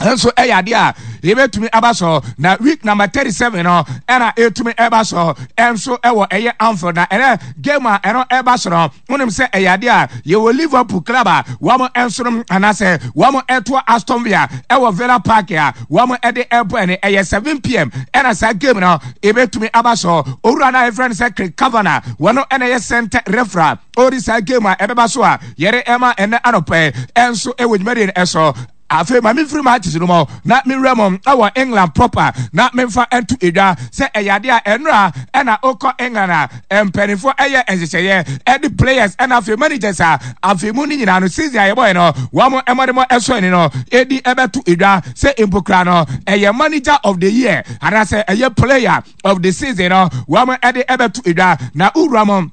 Speaker 1: nso ɛyɛ adeɛ a yɛbɛtumi aba so na week number 37 no ɛna ɛtumi ɛba so ɛnso ɛwɔ ɛyɛ Anfield. Na ɛnɛ game a ɛno ɛba so no, wonim sɛ ɛyɛ adeɛ a yɛwɔ Liverpool club a wɔn nso no anaasɛ wɔn ɛtoa Aston Villa ɛwɔ Villa Park a wɔn ɛde ɛbɔ. Ɛne ɛyɛ 7 p.m. ɛna saa game no ɛbɛtumi aba so. Owura no a yɛfrɛ no sɛ Craig Kavanagh, wɔn ɛna ɛyɛ center referee ɔdi saa game a ɛbɛba so a yɛde ɛma ɛnɛ anɔpɛ ɛnso ɛwɔ dwumadie no ɛso. Afei ma memfiri matches no mu na menwura mu ɛwɔ England proper na memfa nto edwa sɛ ɛyɛ adeɛ a ɛnora ɛna okɔ England a mpanimfoɔ ɛyɛ nhyehyɛeɛ ɛde players ɛna afei managers a afei mu no nyinaa no, season a yɛbɔɛ no, wɔn mmɔdemmɔ ɛsɔ ani no ɛdi ɛbɛto edwa sɛ mpokura no ɛyɛ manager of the year anaasɛ ɛyɛ player of the season no, wɔn ɛde ɛbɛto edwa. Na wura mu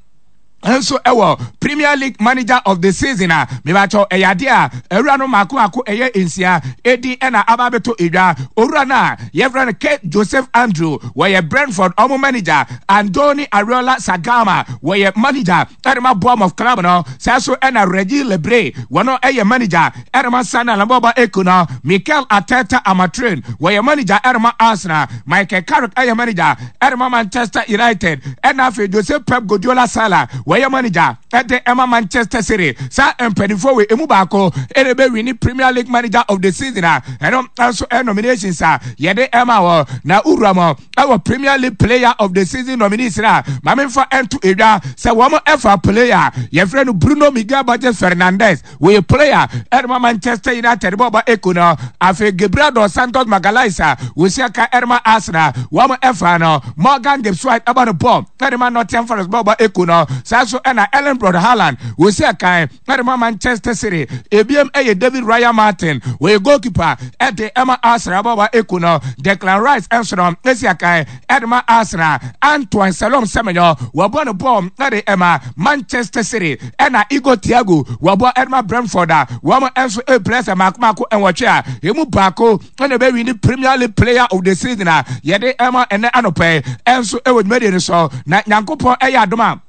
Speaker 1: nso ɛwɔ Premier League manager of the season a, mebakyɛw, ɛyɛ adeɛ a awura no mako mako ɛyɛ nsia edi ɛna aba abɛtɔ edwa. Owura no a yɛfrɛ no Kate Joseph Andrew, wɔyɛ Brentford ɔmo manager. Andoni Ariola Sagama, wɔyɛ manager ɛde ma Bournemouth club no. Saa so ɛna Reggie Lebre, wɔn ɛyɛ manager ɛde ma Sunderland bɔba eku no. Mikel Arteta Amatrin, wɔyɛ manager ɛde ma Arsenal. Michael Carrick ɛyɛ manager ɛde ma Manchester United, ɛna afei Joseph Pep Guardiola Sala, wɔyɛ manager ɛde ɛma Manchester City. Saa mpanimfoɔ wɔ emu baako ɛna ɛbɛwi Premier League manager of the season a ɛno nso ɛ nominations a yɛde ɛma wɔ. Na wura mu ɛwɔ Premier League player of the season nominees na maame nfa ɛnto edwa sɛ wɔn ɛfa player yɛfrɛ no Bruno Miguel Borges Fernandes, wɔyɛ player ɛde ma Manchester United bɔɔbɔ eko no. Afei Gabriel dos Santos Magalhaes a wɔsi aka ɛde ma Arsenal, wɔn ɛfa no. Morgan Gibbs White ɛbɔ no bɔɔl ɛde ma Nottingham Forest bɔɔbɔ eko no. Saa so ɛna Erling Braut Haaland, wɔsi aka ɛde ma Manchester City. Ebiem ɛyɛ David Raya Martin, wɔyɛ goalkeeper ɛde ɛma Arsenal bɔɔbɔ eko no. Declan Rice ɛnso no ɛsi aka ɛde ma Arsenal. Antoine Salom Semenyo, wɔbɔ no bɔɔl ɛde ɛma Manchester City, ɛna Igor Thiago, wɔbɔ ɛde ma Brentford a wɔn nso ɛpilɛ sɛ mako mako nwɔtwe a emu baako ɛna ɛbɛwi ne Premier League player of the season a yɛde ɛma ɛnɛ anɔpɛ ɛnso ɛwɔ dwumadie no so. Na Nyankopɔn ɛyɛ adom a,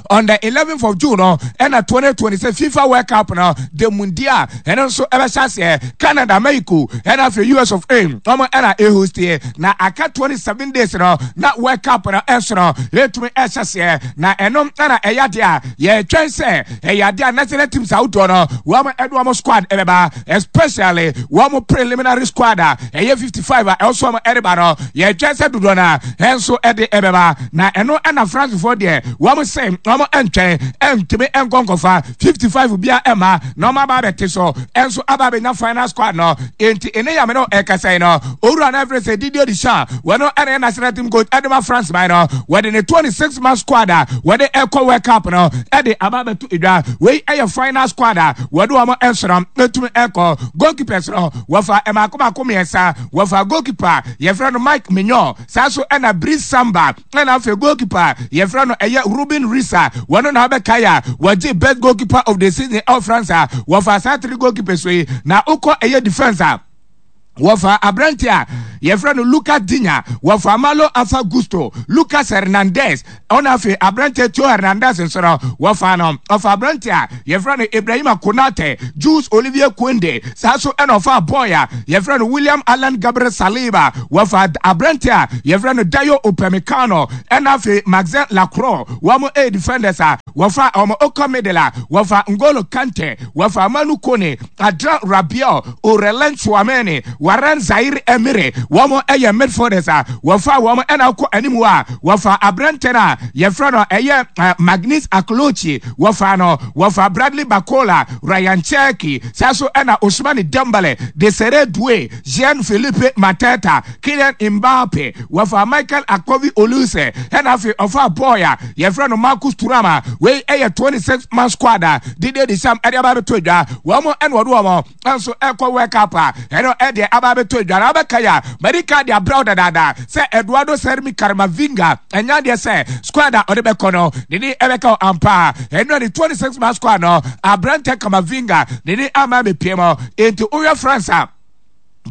Speaker 1: on the 11th of June no ɛna 2026 FIFA World Cup no, the Mundial, ɛno nso ɛbɛhyɛ aseɛ. Canada, Mexico ɛna afei US of A wɔn ɛna ɛhost. Na aka 27 days no na World Cup no ɛnso no ɛtumi ɛhyɛ aseɛ. Na ɛno ɛna ɛyɛ adeɛ a yɛtwɛn sɛ ɛyɛ adeɛ a national teams ahodoɔ no wɔn ɛde wɔn squad ɛbɛba, especially wɔn preliminary squad a ɛyɛ 55 a ɛwɔ so wɔn ɛreba no. Yɛtwɛn sɛ dodoɔ no a ɛnso ɛde ɛbɛba. Na ɛno ɛna Francefoɔ deɛ, wɔn sɛ wɔn ɛntwɛn ɛntumi ɛnkɔ nkɔfa 55 bia ɛma na wɔn aba abɛte so ɛnso aba abɛnya final squad no. Nti ɛne yame no ɛkasa yi no, owura no ɛfrɛ sɛ Didier Deschamps, wɔn ɛna yɛ national team coach ɛde ma France man no, wɔde ne 26 man squad a wɔde ɛkɔ World Cup no ɛde aba abɛto edwa. Wei ɛyɛ final squad a wɔde wɔn ɛnso no ɛtumi ɛkɔ. Goalkeepers no, wɔfa ɛmaako mako mmiɛnsa. Wɔfa goalkeeper yɛfrɛ no Mike Maignan, saa so ɛna Brice Samba, ɛna afei goalkeeper yɛfrɛ no ɛyɛ Ruben Risa, wɔn na abɛka yɛ a wɔgye best goalkeeper of the season ɛwɔ France a wɔfa saa three goalkeepers yi. Na okɔ ɛyɛ defence a, wɔfa aberante a yɛfrɛ no Lucas Digne, wɔfa Malo Afa Gusto, Lucas Hernandez, ɔna afei aberante Theo Hernandez nso no wɔfa no. Ɔfa aberante a yɛfrɛ no Ibrahima Konate, Jules Olivier Kounde, saa so ɛna ɔfa boy a yɛfrɛ no William Allan Gabriel Saliba, wɔfa aberante a yɛfrɛ no Dayo Upamecano, ɛna afei Maxence Lacroix, wɔn ɛyɛ defenders a wɔfa wɔn. Okɔ middle a, wɔfa Ngolo Kante, wɔfa Manu Kone, Adrien Rabiot, Aurelien Tchouameni. Warren Zaire Emery, wɔn yɛ midfielders a wɔfa wɔn. Ɛna wokɔ anim hɔ a, wɔfa aberantɛ no a yɛfrɛ no ɛyɛ Magnus Aklochi, wɔfa no, wɔfa Bradley Barcola, Ryan Cherki, saa so ɛna Ousmane Dembele, Desire Doue, Jean-Philippe Mateta, Kylian Mbappe, wɔfa Michael Akovi Olise, ɛna afei ɔfa boy a yɛfrɛ no Marcus Thuram a wei ɛyɛ 26 man squad a Didier Deschamps ɛde aba abɛto adwa. Wɔn ɛna ɔde wɔn nso ɛkɔ World Cup a ɛno ɛde aba abɛto adwa. Na abɛka yɛ a madi ka de abrɛw dadaada sɛ Eduardo Sermi Camavinga ɛnya adeɛ sɛ squad a ɔde bɛkɔ no ne ni ɛbɛka ampa. Ɛno ne 26 man squad no, aberantɛ Camavinga ne ni ama mepie mu. Enti wohwɛ France a,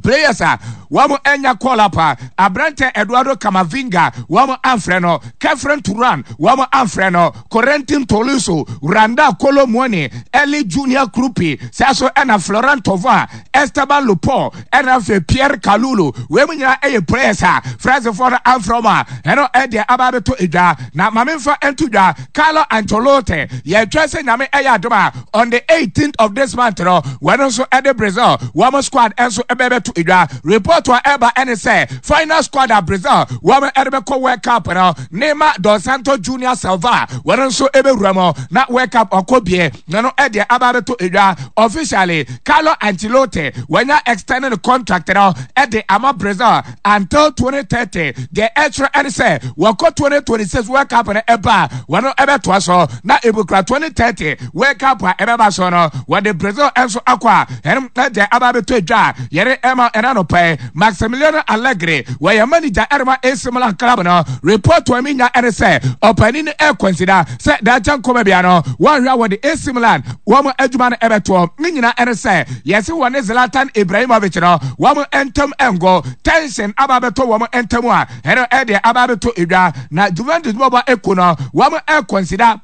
Speaker 1: players a wɔn anya call up a, aberantɛ Eduardo Camavinga wɔn amfrɛ no, Khéphren Thuram wɔn amfrɛ no, Corentin Tolisso, Randal Kolo Muani, Eli Junior Kroupi, saa so ɛna Florent Thauvin, Esteban Lupol, ɛna afei Pierre Kalulu. Wei mu nyinaa ɛyɛ players a Francefoɔ no amfrɛ wɔn a ɛno ɛdeɛ aba abɛtɔ edwa. Na maame nfa nto dwa, Carlo Ancelotti yɛtwɛn sɛ Nyame ɛyɛ adom a on the 18th of this month no wɔn nso ɛde Brazil wɔn squad nso ɛbɛbɛto edwa. Report a ɛba ɛne sɛ final squad a Brazil wɔn ɛde bɛkɔ World Cup no, Neymar dos Santos Junior Silva wɔn nso ɛbɛwura mu na World Cup ɔkɔ bie na no ɛdeɛ aba abɛto edwa. Officially, Carlo Ancelotti wɔnya extended contract no ɛde ama Brazil until 2030. Deɛ ɛkyerɛ ɛne sɛ wɔkɔ 2026 World Cup no ɛba a, wɔn ɛbɛtoa so na ebukura 2030 World Cup a ɛbɛba so no, wɔde Brazil nso akɔ a ɛno ɛdeɛ aba abɛtɔ edwa a yɛde ɛma ɛna no pɛɛ. Maximiliano Allegri, wɔyɛ manager ɛde AC Milan club no. Report a mi nya ɛne sɛ ɔpanin no ɛkɔnsida sɛ daakye nkɔmɔ bia no wɔnhwɛ a wɔde AC Milan wɔn adwuma no ɛbɛtoɔ. Ne nyinaa ɛne sɛ yɛse wɔne Zlatan Ibrahimovic no wɔn ntam ɛngo, tension aba abɛtɔ wɔn ntam a ɛno ɛdeɛ aba abɛtɔ edwa. Na Juventus bɔbɔ eko no wɔn ɛkɔnsida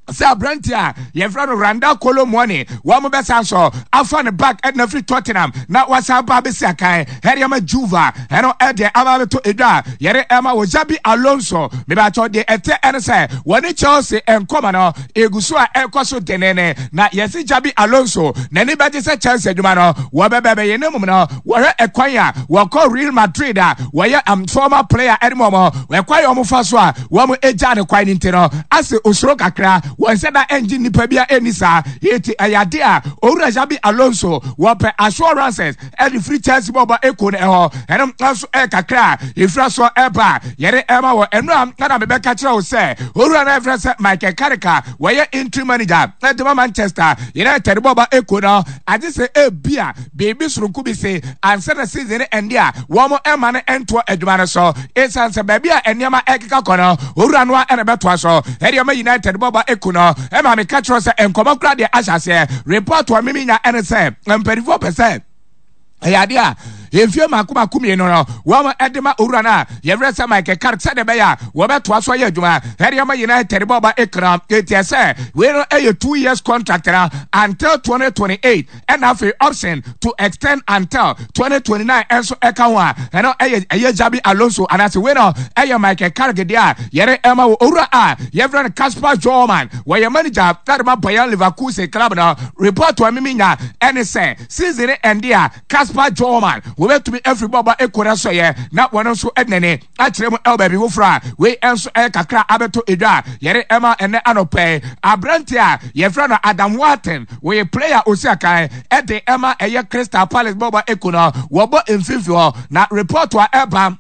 Speaker 1: sɛ aberante a yɛfrɛ no Randal Kolo Muani wɔn bɛsan so afa ne back ɛna firi Tottenham na wasan ba abɛsi akan ɛde ama Juve. Ɛno ɛdeɛ aba abɛtɔ edwa a yɛde ɛma wɔ Xabi Alonso. Mebakyɛw, deɛ ɛtɛ ɛne sɛ wɔne Chelsea nkɔmɔ no egu so a ɛkɔ so denene, na yɛsi Xabi Alonso n'ani bɛgye sɛ Chelsea adwuma no wɔbɛbɛbɛyɛ ne mum no wɔhwɛ ɛkwan a wɔkɔ Real Madrid a wɔyɛ former player ɛde mu wɔn ɛkwan a wɔn fa so a wɔn agya ne kwan ne nti no ase osoro kakra, wɔn nsa da ɛngye nipa bi a ɛni saa. Eti ɛyɛ ade a owura Xabi Alonso wɔpɛ assurances ɛde firi Chelsea bɔɔbɔ eko no ɛhɔ. Ɛno nso ɛyɛ kakra a efira so ɛba a yɛde ɛma wɔ ɛno a ɛna mebɛka kyerɛ wo sɛ owura no ɛfrɛ sɛ Michael Carrick a wɔyɛ interim manager ɛde ma Manchester United bɔɔbɔ eko no, agye sɛ ebia biribi soronko bi se ansa na season no ɛnde a wɔn ɛma no ɛntoɔ adwuma no so, ɛsiane sɛ baabi a nneɛma ɛkeka kɔ no owura no a ɛna bɛtoa so ɛde ɔma United bɔbɔ eku no. Ɛma meka kyerɛ sɛ nkɔmɔ koraa deɛ ahyɛ aseɛ. Report a mimi nya ɛne sɛ mpanimfoɔ pɛ sɛ ɛyɛ adeɛ a mfie mako mako 2 no wɔn ɛde ma owura no a yɛfrɛ sɛ Michael Carrick sɛdeɛ ɛbɛyɛ a wɔbɛtoa so ayɛ adwuma ɛde ama United bɔba ekura. Eti ɛsɛ wei no ɛyɛ 2 years contract na until 2028, ɛna afei option to extend until 2029 ɛnso ɛka ho a ɛno ɛyɛ Xabi Alonso anaasɛ wei no ɛyɛ Michael Carrick deɛ a yɛde ɛma wɔ. Owura a yɛfrɛ no Kasper Hjulmand, wɔyɛ manager ɛde ma Bayer Leverkusen club no. Report a mimi nya ɛne sɛ season ɛnde a Kasper Hjulmand wɔbɛtumi afiri bɔɔbɔ ekɔ no so yɛ na wɔn nso ɛnene akyerɛ mu ɛwɔ baabi foforɔ a wei nso ɛyɛ kakra abɛto edwa a yɛde ɛma ɛnɛ anɔpɛ. Aberante a yɛfrɛ no Adam Wharton, wɔyɛ player osi akan ɛde ɛma ɛyɛ Crystal Palace bɔɔbɔ eko no, wɔbɔ mfimfini hɔ, na report a ɛba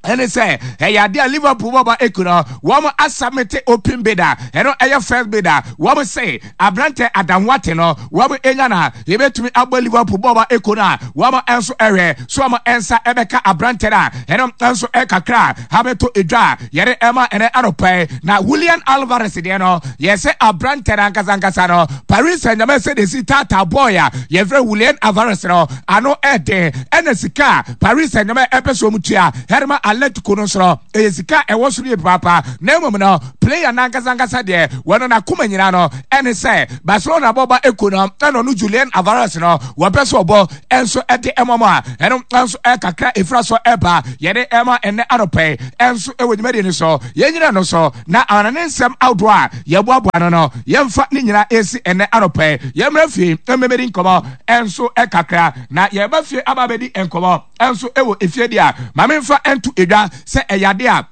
Speaker 1: ɛne sɛ ɛyɛ adeɛ a Liverpool bɔbɔ eku no wɔn asubmit open bid a ɛno ɛyɛ first bid a wɔn se aberante Adam Wharton no wɔn enya na yɛbɛtumi abɔ Liverpool bɔbɔ eku no a wɔn nso ɛhwɛ so wɔn nsa ɛbɛka aberante no a ɛno nso ɛkakra abɛto edwa a yɛde ɛma ɛnɛ anɔpɛ. Na Julian Alvarez deɛ no, yɛsɛ aberante no ankasa ankasa no, Paris Saint-Germain sɛ de si tata boy a yɛfrɛ Julian Alvarez no ano ɛden, ɛna sika a Paris Saint-Germain ɛpɛ so wɔn tua ɛde ma. Atletico no nso no, ɛyɛ sika a ɛwɔ soro yie papaapa. Na mmom no, player no ankasa ankasa deɛ, wɔn n'akoma nyinaa no ɛne sɛ Barcelona bɔba eko no ɛna ɔno Julian Alvarez no wɔpɛ sɛ ɔbɔ ɛnso ɛde ɛma mu a ɛno nso ɛkakra efira so ɛba yɛde ɛma ɛnɛ anɔpɛ yi ɛnso ɛwɔ dwumadie no so yɛnyina no so na amana ne nsɛm ahodoɔ a yɛboaboa no no yɛmfa ne nyinaa ɛsi ɛnɛ anɔpɛ yi yɛmmra fie mmɛmɛdi nkɔmɔ ɛnso ɛkakra na yɛba fie aba abɛdi nkɔmɔ ɛnso ɛwɔ efie deɛ a maame nfa ɛnto edwa sɛ ɛyɛ adeɛ a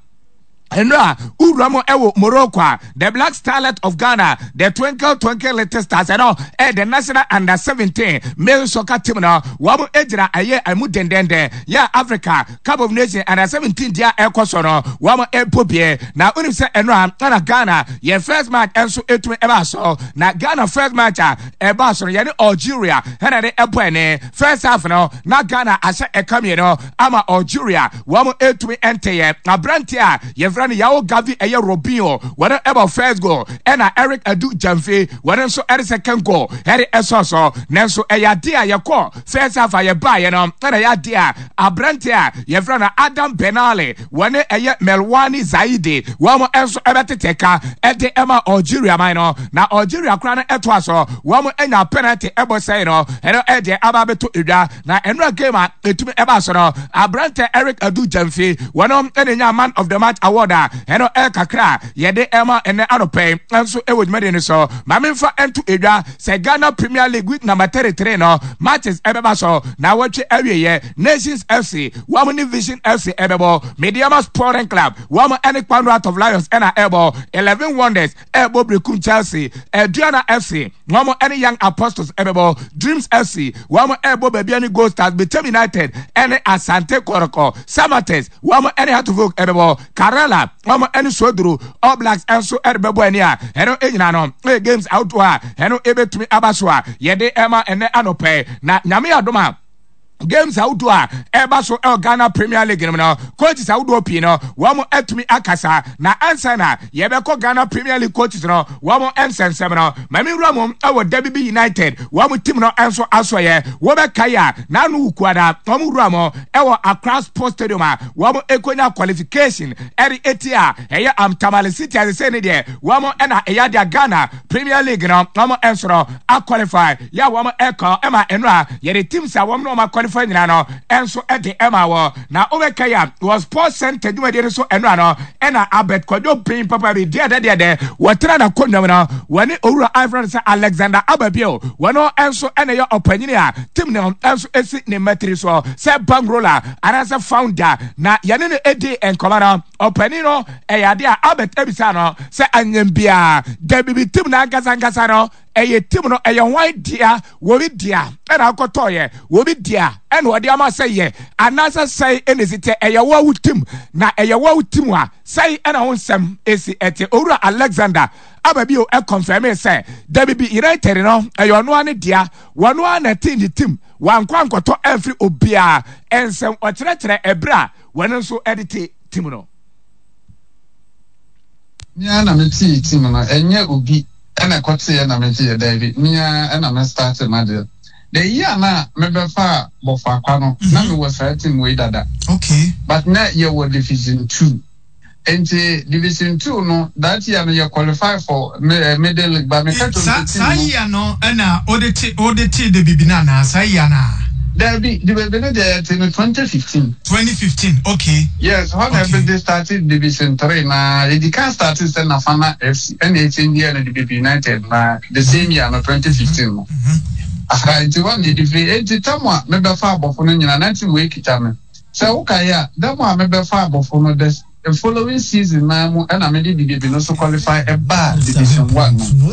Speaker 1: Nnora wura mu ɛwɔ Morocco a the Black Starlet of Ghana the Twinkle Twinkle Little Stars ɛno ɛyɛ the national under 17 male soccer team no wɔn gyina ɛyɛ ɛmu dendenden yɛ Africa Cup of Nations under 17 deɛ ɛkɔ so no wɔn ɛbɔ bie na wonim sɛ ɛnora ɛna Ghana yɛ first match ɛnso ɛtumi ɛbaa so na Ghana first match a ɛbaa so no yɛne Algeria ɛna de ɛbɔ ɛne first half no na Ghana ahyɛ ɛka mmienu ama Algeria wɔn ɛtumi ɛnteyɛ aberante a yɛfrɛ no Yao Gavi ɛyɛ Robinho wɔn ɛbɔ first goal ɛna Eric Adu Gyamfi wɔn nso ɛde second goal ɛde ɛsɔ so nanso ɛyɛ adeɛ a yɛkɔ first half a yɛbaeɛ no ɛna ɛyɛ adeɛ a aberante a yɛfrɛ no Adam Benali wɔne ɛyɛ Melwani Zaidi wɔn nso ɛbɛtete ka ɛde ɛma Algeria man no na Algeria koraa no ɛtoa so wɔn anya penalty ɛbɔ sɛe no ɛno ɛdeɛ aba abɛto edwa Na ɛnora game a ɛtumi ɛbaa so no, aberantɛ Eric Adu Gyamfi, wɔno ɛna nya man of the match award a ɛno ɛyɛ kakra a yɛde ɛma ɛnɛ anɔpɛ yi nso ɛwɔ dwumadie no so. Ma memfa ɛnto edwa sɛ Ghana Premier League week number 33 no matches ɛbɛba so na awɔtwe awieɛ. Nations FC wɔn ne Vision FC ɛbɛbɔ, Medeama Sporting Club wɔn ɛne Kpando Heart of Lions ɛna ɛbɔ, Eleven Wonders ɛrebɔ Berekum Chelsea, Aduana FC, wɔn ne Young Apostles ɛbɛbɔ, Dreams FC, wɔn ɛrebɔ Baabi ne Gold Stars, Bechem United ɛne Asante Kɔrɔkɔ, Samatex, wɔn ne Heartfolk ɛbɛbɔ, Karela, wɔn ne Soduro, All Blacks ɛnso ɛrebɛbɔ ani a ɛno nyinaa no ɛyɛ games ahodoɔ a ɛno ɛbɛtumi aba so a yɛde ɛma ɛnɛ anɔpɛ na Nyame adom a games ahodoɔ a ɛreba so ɛwɔ Ghana Premier League no mu no coaches ahodoɔ pii no wɔn atumi akasa na ansa na yɛbɛkɔ Ghana Premier League coaches no wɔn nsɛnsɛm no maame nwura mu ɛwɔ Debibi United wɔn team no nso asɔyɛ wɔbɛkae a n'ano wukuada wɔn wura mu ɛwɔ Accra Sports Stadium a wɔn ekonya qualification ɛde eti a ɛyɛ Tamale City asese ne deɛ wɔn ɛna ɛyɛ adeɛ Ghana Premier League no wɔn nso no aqualify yɛ a wɔn ɛkɔ ɛma ɛno a yɛde teams a wɔn ne wɔn aqualify nyinaa no ɛnso ɛde ɛma wɔ na wobɛka yɛ a wɔ sports center dwumadie no so ɛno ano ɛna Albert Kwadwo Pin papa bi deɛ dɛ deɛ dɛ wɔtena na kɔnnwam no wɔne owura Alfred sɛ Alexander Ababio wɔn ɛnso ɛna ɛyɛ ɔpanyini a team no ɛnso ɛsi ne mmatiri soɔ sɛ bankroller anaasɛ founder na yɛne no ɛdi nkɔmɔ no ɔpanin no ɛyɛ adeɛ a Albert ebisa no sɛ anyɛ biara dabi bi team no ankasa ankasa no ɛyɛ team no ɛyɛ hwan dea wɔbi dea ɛna akɔtɔɔyɛ wɔbi dea ɛna ɔde ama sɛ yɛ anaasɛ sɛe ɛna esi tɛ ɛyɛ wɔn wo team na ɛyɛ wɔn wo team a sɛe ɛna ho nsɛm esi ɛte owura Alexander aba bio ɛkɔnfɛme sɛ dabi bi United no ɛyɛ ɔno ara ne dea wɔn ara na ɛte ne team wankɔ ankɔtɔ ɛnfiri obiara ɛnsɛm ɔkyerɛkyerɛ ɛberɛ a wɔn nso ɛde te team no.
Speaker 3: Me ara na me tee team no, ɛnyɛ obi na ɛkɔteeɛ na megyeeɛ, daabi, me ara na me startee m'adeɛ. The year no a mebɛfaa Bɔfoakwa no, na mewɔ saa team wei dada.
Speaker 4: Okay.
Speaker 3: But na yɛwɔ Division Two. Nti Division Two no, that year no yɛ qualify for eh, middle league, but meka kyerɛ
Speaker 4: wɔn sɛ team no. Saa year no na wode te wode tee Debibi no anaa? Saa year no a?
Speaker 3: Daabi, Debibi no deɛ yɛtee no 2015.
Speaker 4: 2015, okay.
Speaker 3: Yes, hɔ na ɛbɛ de started Division 3 na yɛdi kan started sɛ Nafana FC ɛna ɛkyɛn yɛ no Debibi United na the same year no 2015 no. Aha, nti hɔ na yɛdi firi. Enti tam a mebɛfa abɔfo no nyinaa na team wei kita me. Sɛ wokae a, da mu a mebɛfa abɔfo no the The following season naa mu ɛna mede Didebi no so qualify ɛbaa Division One no mu.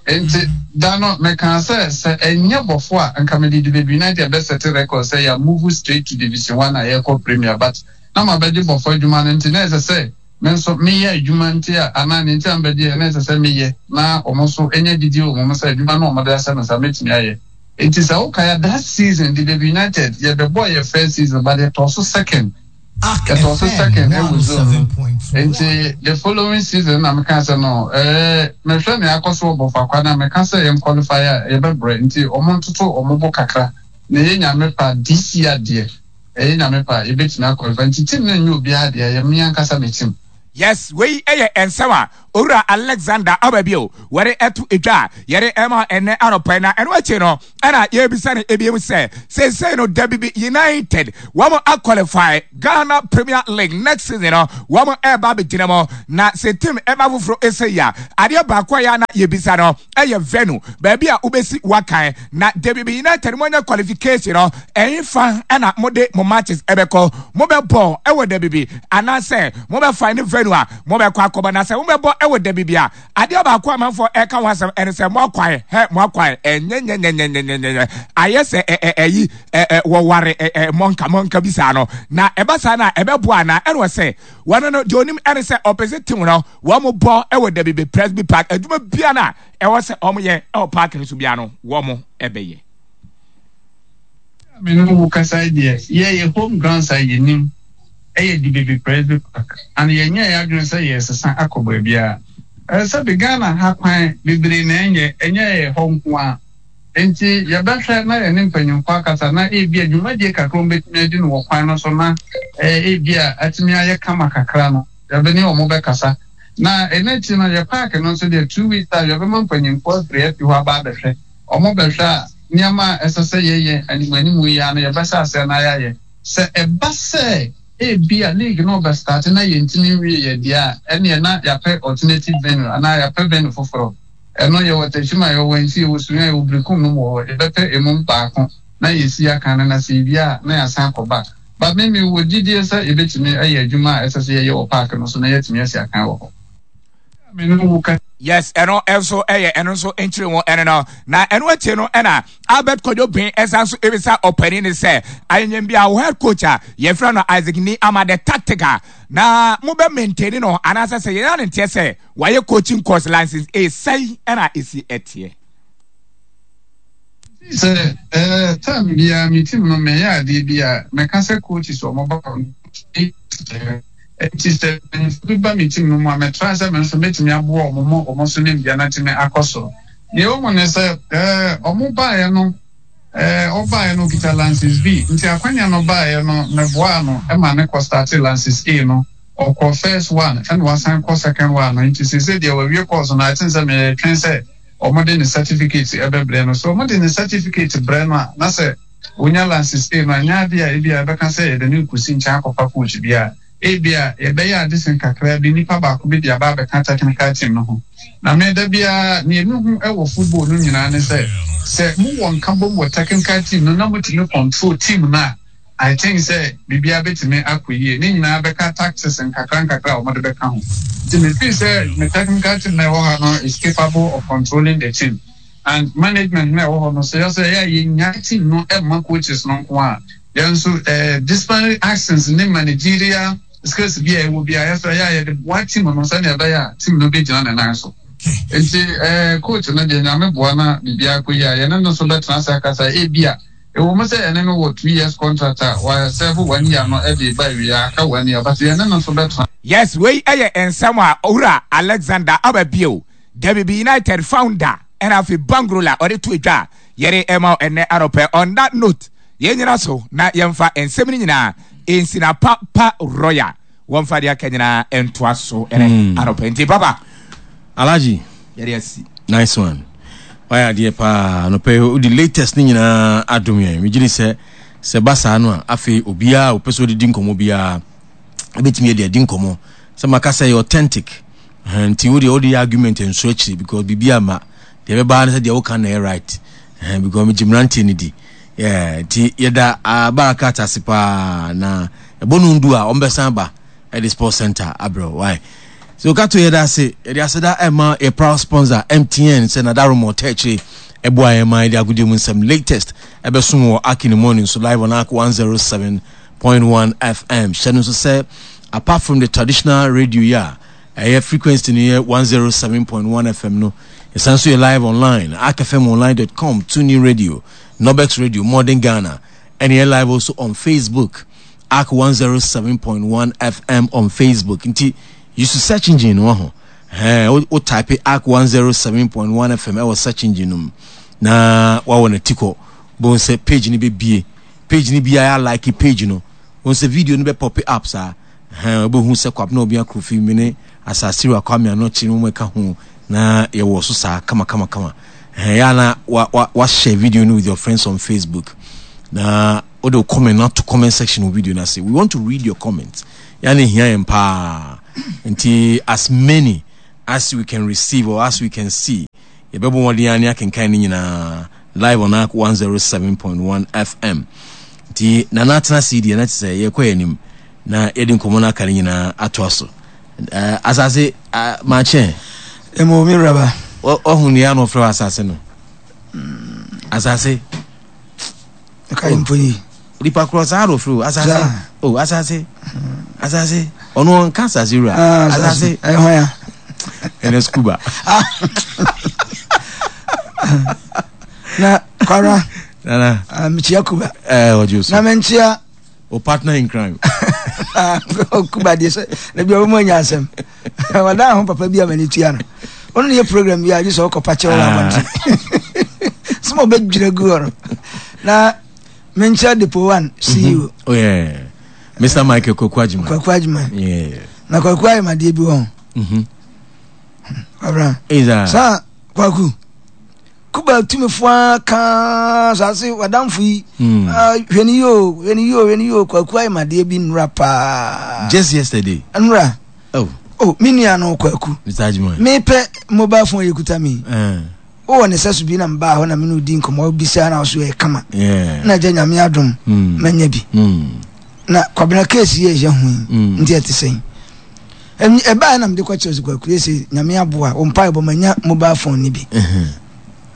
Speaker 3: Nti da no mekaa sɛ sɛ ɛnyɛ bɔfo a nka mede Didebi United bɛ sɛte record sɛ yɛ move straight to Division One a yɛkɔ Premier but na mabɛgye bɔfo adwuma no nti na ɛsɛ sɛ me nso meyɛ adwuma nti a anaa nea nti a mebɛgyeɛ na ɛsɛ sɛ meyɛ na wɔn nso nya gyidie wɔ me mu sɛ adwuma no a wɔde ahyɛ me nsa mɛtumi ayɛ. Nti sɛ wokae a that season Didebi United yɛbɛbɔɔ yɛ first season but yɛtɔɔ so second. Yɛtɔɔ so second ɛwɔ zone no nti the following season na meka sɛ no ɛɛ mehwɛ nea akɔ so wɔ Bɔfakwa na meka sɛ yɛn qualify a yɛbɛbrɛ nti wɔn ntoto wɔn bo kakra na ɛyɛ nyame pa this year deɛ. Ɛyɛ Nyame pɛ a, yɛbɛtumi a qualify. Nti team no nyɛ obiara dea, ɛyɛ me ankasa me team.
Speaker 1: Yes, wei yɛ nsɛm a Owura Alexander Ababio wɔde ɛto dwa a yɛde ɛma ɛnɛ anɔpa yi. Na ɛno akyi no ɛna yɛbisa no ebiem sɛ seesei no Dabibi United wɔn aqualify Ghana Premier League next season no wɔn ɛreba abɛgyina mu. Na sɛ team ɛba foforɔ ɛsɛ yi a adeɛ baako a yɛ na yɛbisa no ɛyɛ venue, baabi a wobɛsi wakan. Na Dabibi United moanya qualification no ɛhefa ɛna mode mo matches ɛbɛkɔ? Mobɛbɔ ɛwɔ Dabibi anaasɛ mobɛ find venue a mobɛkɔ akɔbɔ? Na sɛ mobɛbɔ ɛwɔ Dabibi a, adeɛ baako a amanfoɔ ɛka ho asɛm ɛne sɛ mo akwan hɛ mo akwan ɛnyɛnyɛnyɛnyɛnyɛnyɛ ayɛ sɛ ɛ ɛ ɛyi ɛ ɛ wɔware ɛ ɛ mɔnka mɔnka bi saa no, na ɛba saa no a ɛbɛboa anaa? Ɛna ɔsɛ wɔn no deɛ onim ɛne sɛ ɔpɛ sɛ team no wɔn bɔ ɛwɔ Dabibi Presby Park, adwuma biara no a ɛwɔ sɛ wɔn yɛ ɛwɔ park no so biara no wɔn ɛbɛyɛ.
Speaker 3: Me ne wo kasa yi deɛ, yɛ yɛ home grounds a yɛnim yɛ Dibebi Presby Park and yɛnyɛɛ yɛn adwene sɛ yɛresesa akɔ baabiara. Sɛbe Ghana ha kwan bebree na ɛnyɛ, ɛnyɛ yɛ hɔ nko ara. Enti yɛbɛhwɛ na yɛne mpanyimfoɔ akasa na ebia dwumadie kakra a wɔbɛtumi adi no wɔ kwan no so na ebia atumi ayɛ kama kakra no, yɛne wɔn bɛkasa. Na ɛno akyi no, yɛ park no nso deɛ, 2 weeks time yɛbɛma mpanyimfoɔ afiri afi hɔ aba abɛhwɛ. Wɔbɛhwɛ a, nneɛma a ɛsɛ sɛ yɛyɛ animuanimu yi ara no, yɛbɛhyɛ aseɛ na yɛayɛ. Sɛ ɛba sɛ ebia league no rebɛstarte na yɛntumi nwieeɛ deɛ a, ɛnneɛ na yɛapɛ alternative venue anaa yɛapɛ venue foforɔ. Ɛno, yɛwɔ Techiman, yɛwɔ Wenchi, yɛwɔ Sunyani, yɛwɔ Berekum nom wɔ hɔ. Yɛbɛpɛ emu baako na yɛasi akan no, na sɛ yɛwie a, na yɛasan akɔ back. But me, mewɔ gyidie sɛ yɛbɛtumi ayɛ adwuma a ɛsɛ sɛ yɛyɛ wɔ park no so na yɛatumi asi akan wɔ hɔ. Me ne wo ka.
Speaker 1: Yes, ɛno nso ɛyɛ ɛno nso nkyerɛ mu ɛno no. Na ɛno akyi no ɛna Albert Kwadwo Ben ɛsan so ebisa ɔpanin no sɛ ayɛnyɛn bi a wo head coach a yɛfrɛ no Isaac Ni ama the tactic a na mo bɛ maintain no anaasɛ sɛ yɛn ano nteɛ sɛ wayɛ coaching course license A sɛn ɛna esi ɛteɛ.
Speaker 3: Sɛ ɛɛ term biara me team no meyɛ adeɛ bi a mɛka sɛ coaches wɔn ba hɔ no Enti sɛ mpanyimfo bi ba me team no mu a, mɛtra sɛ me nso mɛtumi aboa wɔn ma wɔn nso nimdeɛ no atumi akɔ soro. Nea ɛwɔ mu ne sɛ, eh, wɔn baeɛ no, eh, ɔbaeɛ no ɔkita Lances B, nti akwanya no baeɛ no, meboaa no ma ne kɔ starte Lances A no. Ɔkɔɔ first one, ɛna wasan kɔ second one no, nti seesei deɛ wawie course no, I think sɛ meretwɛn sɛ wɔde ne certificate bɛbrɛ no. So wɔde ne certificate brɛ no a, na sɛ Onya Lances A no, ɛnyɛ ade a ebia yɛbɛka sɛ yɛde no rekosi nkyɛn akɔfa coach bi a. Ebia yɛbɛyɛ ade sen kakraa bi, nipa baako bi de aba abɛka technical team no ho. Na me, da biara, nea mihu wɔ football no nyinaa ne sɛ, sɛ mowɔ nkabom wɔ technical team no na mutumi control team no a, I think sɛ biribiara betumi akɔ yie. Ne nyinaa bɛka tactics nkakra nkakra a wɔde bɛka ho. Nti me feel sɛ me technical team no a ɛwɔ ha no is capable of controlling the team. And management no a ɛwɔ hɔ no, sɛ yɛsɛ ɛyɛ a yɛnyae team no mma coaches no nko a, yɛn nso eh, disciplinary actions ne managerial skills bi a ɛwɔ bi a yɛsɛ ɛyɛ a yɛde boa team no sɛnea ɛbɛyɛ a team no bɛgyina ne nan so. Nti eh, coach no deɛ Nyame boa na biribiara kɔ yie a, yɛne no nso bɛtena ase akasa. Ebi a ɛwɔ mu sɛ yɛne no wɔ 2 years contract a wɔasɛvo one year no de ba awie a aka one year, but yɛne no nso bɛtena.
Speaker 1: Yes, wei yɛ nsɛm a Owura Alexander Ababio, Dabibi United founder ɛna afei Bangrola ɔde to dwa a yɛde ɛma wo ɛnnɛ anɔpɛ. On that note, yɛn nyina so na yɛmfa nsɛm no nyinaa nsi na pa pa royal wɔmfa deɛ aka nyinaa ntoa so ɛnɛ anɔpɛ. Nti papa
Speaker 2: Alhaji,
Speaker 1: yɛde asi.
Speaker 2: Nice one. Wayɛ adeɛ paa anɔpɛ yi, wode latest no nyinaa adom yɛn. Megye di sɛ sɛ ba saa no a, afei obiara a ɔpɛ sɛ ɔde di nkɔmmɔ biara ɛbɛtumi adi adi nkɔmmɔ. Sɛ maka sɛ ɛyɛ authentic. Ɛhɛn, nti wo deɛ wode yɛ argument nso akyire because biribi ama deɛ ɛbɛba ne sɛ deɛ woka na ɛyɛ right. Ɛhɛn, because megye mmeranteɛ no di. Yeah, nti yɛda uh, Barakat ase paa na ɛbɔ no ndu a ɔmbɛsan ba ɛde sports center abrɛ why. So kato yɛda ase, yɛde aseda ɛma yɛ proud sponsor MTN sɛ nadaromɔ tɛkyire ɛboa yɛn ma yɛde agodie mu nsɛm latest ɛbɛsom wɔ Aki in the morning so live on Ark 107.1 FM. Hyɛ no nso sɛ apart from the traditional radio yi a ɛyɛ frequency no yɛ 107.1 FM no, yɛsan so yɛ live online arkfmonline.com, TuneIn Radio, Nobex Radio, Modern Ghana, ɛne yɛ live also on Facebook, Ark 107.1 FM on Facebook. Nti use search engine no ho. Ɛhɛn, wo type Ark 107.1 FM ɛwɔ search engine no mu na wawɔ no tikɔ. Bohu sɛ page no bɛbie. Page no biara like page no. Wɔn sɛ video no bɛ pop up saa. Ɛhɛn wobɛhu sɛ Kwabena Obia Kofi me ne Asasiriwa Kwame Anokye no wɔn ɛka ho na yɛwɔ so saa kama kama kama. Ɛhɛn yɛ na wa wa wa share video no with your friends on Facebook. Na wode wo comment no ato comment section wɔ video no ase. We want to read your comments. Yɛ na ehia yɛn paa. Nti as many as we can receive or as we can see yɛbɛbɔ mmɔden ara ne akenkan ne nyinaa live on Ark 107.1 FM. Nti Nana atena ase yi deɛ na te sɛ yɛkɔ yɛn anim na yɛde nkɔmmɔ no aka no nyinaa atoa so. Uh, asase uh, makyɛ.
Speaker 5: Emo mi raba.
Speaker 2: Wahu nea na ɔfrɛ asase no. Mm. Asase.
Speaker 5: Ɛka yi mpo yi.
Speaker 2: Nipa korɔ saa na ɔfrɛ o asase. O oh, asase. Mm. Asase. Ɔno ɔnka asase wura. Ah, asase.
Speaker 5: Ɛyɛ hwan ya.
Speaker 2: Ɛnɛ scuba.
Speaker 5: Na kwara.
Speaker 2: Nana.
Speaker 5: Ah, mekyia kuba.
Speaker 2: Ɛɛ eh, ɔgye
Speaker 5: so. Na menkyia.
Speaker 2: O partner in crime.
Speaker 5: Kuba deɛ sɛ na bi ɔbɛmu anya asɛm. Wadan ho papa bi a m'ani tua no. Ɔno ne yɛ program bi a gye sɛ ɔkɔpa kyɛw wɔ ah. abɔnten. Sɛ ma ɔbɛdwira gu hɔ no. Na menkyia Depo One CEO.
Speaker 2: Mm -hmm. Oh yeah. Mr. Michael Kwaku Agyeman.
Speaker 5: Kwaku Agyeman.
Speaker 2: Yeah.
Speaker 5: Na Kwaku ayɛ madeɛ bi wɔ ho.
Speaker 2: Mhm.
Speaker 5: Kwabra. Saa Kwaku. Kuba tumifo ara kaa saa se wadamfo yi. Mm. Ah, hwɛ ne yio, hwɛ ne yio, hwɛ ne yio. Kwaku ayɛ madeɛ bi nnura paa.
Speaker 2: Just yesterday.
Speaker 5: Nnura.
Speaker 2: Oh.
Speaker 5: Oh, me nua no Kwaku.
Speaker 2: Mr. Agyeman.
Speaker 5: Mepɛ mobile phone yɛ kuta mi.
Speaker 2: Uh.
Speaker 5: Wowɔ ne sɛso bi na mebaa hɔ na me ne odi nkɔmmɔ bisa na ɔso yɛ kama.
Speaker 2: Yeah.
Speaker 5: Na agya nyame adom.
Speaker 2: Mm.
Speaker 5: Manya bi.
Speaker 2: Mm.
Speaker 5: Na Kwabena case yi a ɛhyɛ ho yi.
Speaker 2: Mm.
Speaker 5: Nti ɛte sɛn? Ɛbaeɛ na mede kɔkyerɛ sɛ Kwaku ese nyame aboa wo mpaebɔ manya mobile phone no bi.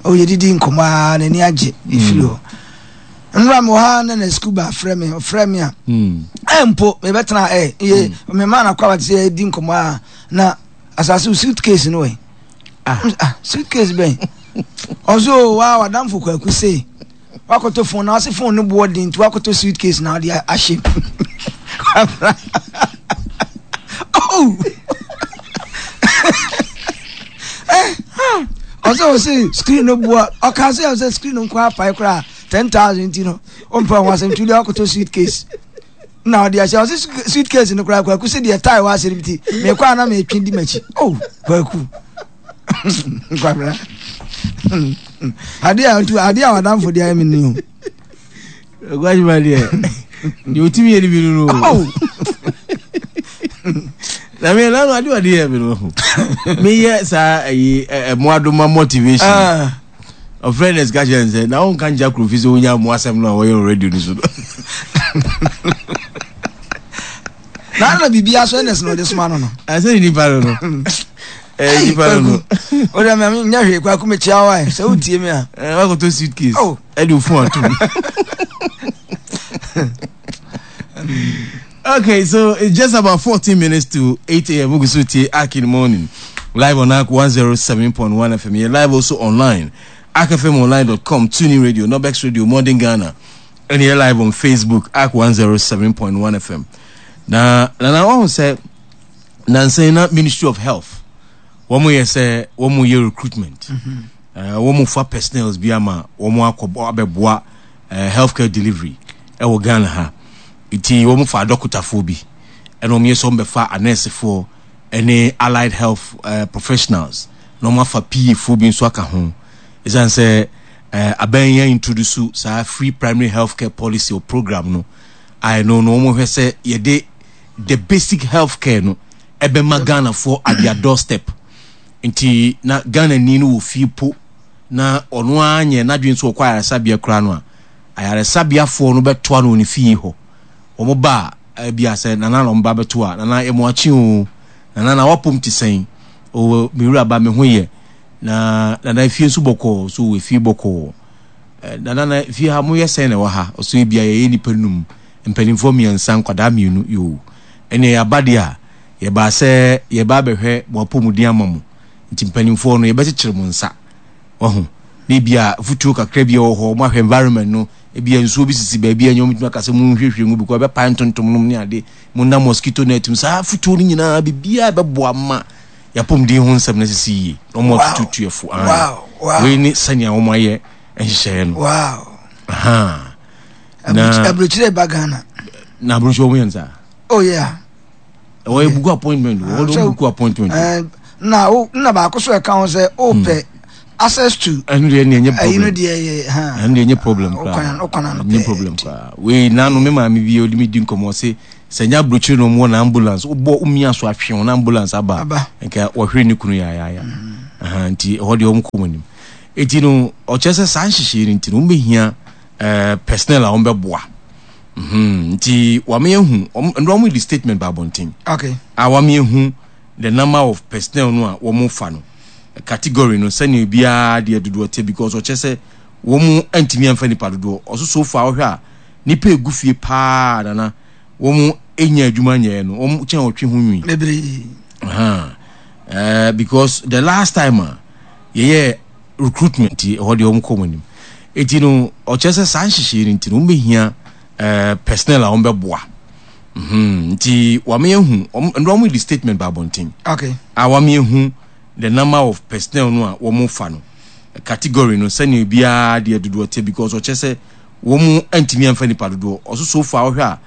Speaker 5: O yɛdidi nkɔmmɔ a n'ani agye ɛfiri hɔ. Nwura me wɔ ha na na sukuu ba frɛ me ɔfrɛ me a ɛ mpo mebɛtena ɛ yɛ mema na kɔ abate sɛ yɛdi nkɔmmɔ a na asase wo suitcase no wɔ ah suitcase bɛn ɔso wa wadamfo Kwaku se wakɔtɔ phone na ɔse phone no boɔ den nti wakɔtɔ suitcase na ɔde ahyɛ mu oh eh ɔsɛ ɔse screen no boɔ ɔka sɛ ɔsɛ screen no nkɔ apae koraa 10000 nti no ɔmpa ho asɛm nti wode wakɔtɔ suitcase na ɔde ahyɛ ɔse suitcase no koraa kwaku sɛ deɛ tae wɔ asɛm nti mekɔ a na metwe di m'akyi oh kwaku Kwabena. Adeɛ a ntu adeɛ a wadamfo deɛ ayɛ mi ni o.
Speaker 2: Gwajima deɛ deɛ otimi yɛ ni bi no no. Na mi nanu ade ɔde yɛ mi no ho. Mi yɛ saa ɛyi ɛmoadoma motivation. Ɔfrɛ ne sika kyerɛ nsɛ na ɔnka nkyɛ akuro fi sɛ wonya mmoa asɛm no a wɔyɛ wɔ radio no so no.
Speaker 5: Na na biribiara so ɛnɛs na ɔde soma no no.
Speaker 2: Ɛsɛ ne nipa no no. Ɛyɛ nipa no no.
Speaker 5: O de mɛ nyɛ hwee kwaku mi kyia wa sɛ o tie mi a.
Speaker 2: Ɛɛ wakɔtɔ suitcase.
Speaker 5: Oh.
Speaker 2: Ɛde ofun atum. Okay, so it's just about 14 minutes to 8 a.m. Mugusu tie Ark in the morning. Live on Ark 107.1 FM. You're live also online. ArkFMOnline.com, TuneIn Radio, Nobex Radio, Modern Ghana. And you're live on Facebook, Ark 107.1 FM. Na, na, na, I say, Nansa yi na Ministry of Health wɔn yɛ sɛ wɔn yɛ recruitment. Mm -hmm. uh, wɔn fa personnels bi ama wɔn akɔ abɛboa uh, healthcare delivery ɛwɔ Ghana ha. Nti wɔn fa adɔkotafoɔ bi ɛna wɔn yɛ sɛ wɔn bɛfa anɛɛsefoɔ ɛne allied health uh, professionals na wɔn afa PA foɔ bi nso aka ho. Ɛsiane sɛ uh, abɛn yɛn introduce saa free primary healthcare policy or program no a ɛno no wɔn hwɛ sɛ yɛde the basic health care no ɛbɛma Ghanafoɔ at their doorstep nti na Ghanani no wɔ fie po na ɔno ara nyɛ n'adwene sɛ ɔkɔ ayaresabea koraa no a ayaresabeafoɔ no bɛtoa no wɔ ne fie hɔ wɔn ba a ebi a sɛ nana na wɔn ba bɛto a nana yɛ mo akyi o nana na wapom te sɛn o me wura ba me ho yɛ na nana efie nso bɔkɔɔ so wɔ efie bɔkɔɔ nana na efie ha mo yɛ sɛn na ɛwɔ ha ɔso ebi a yɛyɛ nipa num Mpanimfoɔ mmiɛnsa, nkwadaa mmienu, yoo. Ɛnneɛ yɛaba deɛ a, yɛbaa sɛ yɛreba abɛhwɛ mo apɔmuden ama mo. Nti mpanimfoɔ no, yɛbɛkyekyere mo nsa. Wahu? Na ebia afutuo kakra bi a ɛwɔ hɔ, wɔahwɛ environment no, ebia nsuo bi sisi baabi a ɛnyɛ wɔbɛtumi aka sɛ monhwiehwie ngu because ɛbɛpae ntontom nom ne ade, monna mosquito net mu. Saa afutuo no nyinaa, biribiara ɛbɛboa ma yɛapɔmuden ho nsɛm no asisi yie. Na wɔn atututu yɛ fo.
Speaker 5: Wow. Wow.
Speaker 2: Wei ne sɛnea wɔayɛ nhyehyɛeɛ no.
Speaker 5: Wow.
Speaker 2: Aha. Na
Speaker 5: aburokyire ba Ghana.
Speaker 2: Na aburukyire wɔn yɛ no saa.
Speaker 5: Oh yeah.
Speaker 2: Ɛwɔ yɛ buku appointment o, wɔde wɔn buku appointment.
Speaker 5: Eh, na o na baako so ɛka ho sɛ o pɛ access to.
Speaker 2: Ɛno deɛ ɛnyɛ problem.
Speaker 5: Ɛyi no deɛ yɛ ha.
Speaker 2: Ɛno deɛ ɛnyɛ problem koraa.
Speaker 5: Ɔkwan ano pɛ.
Speaker 2: Ɛnyɛ problem koraa. Wei nanu mi maame bi odi mi di nkɔmɔ se sɛ nya aburukyire na wɔn wɔ na ambulance wobɔ omia so atwe wɔn ambulance aba. Nka wɔhwere ne kunu yayaaya. Mm. Nti ɛhɔ deɛ wɔn kɔ wɔn anim. Eti no ɔkyerɛ sɛ saa nhyehyɛ yi nti no wɔn bɛhia ɛɛ personnel a wɔn bɛboa. Mm-hmm. Nti wame ehu wɔn ndɔ wɔn di statement ba abɔnten.
Speaker 5: Okay.
Speaker 2: A wame ehu the number of personnel no a wɔn fa no category no sɛnea obiara deɛ dodoɔ te because ɔkyɛ sɛ wɔn ntumi anfa nipa dodoɔ ɔso so far ɔhwɛ a nipa egu fie paa nana wɔn enya adwuma nyɛɛ no wɔn kyɛn ɔtwe ho nwi.
Speaker 5: Bebree.
Speaker 2: Uh, uh, because the last time a yɛyɛ recruitment nti ɛhɔ deɛ wɔn kɔ wɔn anim eti no ɔkyerɛ sɛ saa nhyehyɛe no nti no wɔn bɛhia ɛɛ eh, personnel a wɔn bɛboa mhm nti wɔn ehu wɔn ndɔ wɔn di statement ba abɔnten
Speaker 5: okay
Speaker 2: a wɔn ehu the number of personnel no a wɔn fa no category no sɛnea obiara deɛ dodoɔ te because ɔkyerɛ sɛ wɔn ntumi anfa nipa dodoɔ ɔso so far ɔhwɛ a.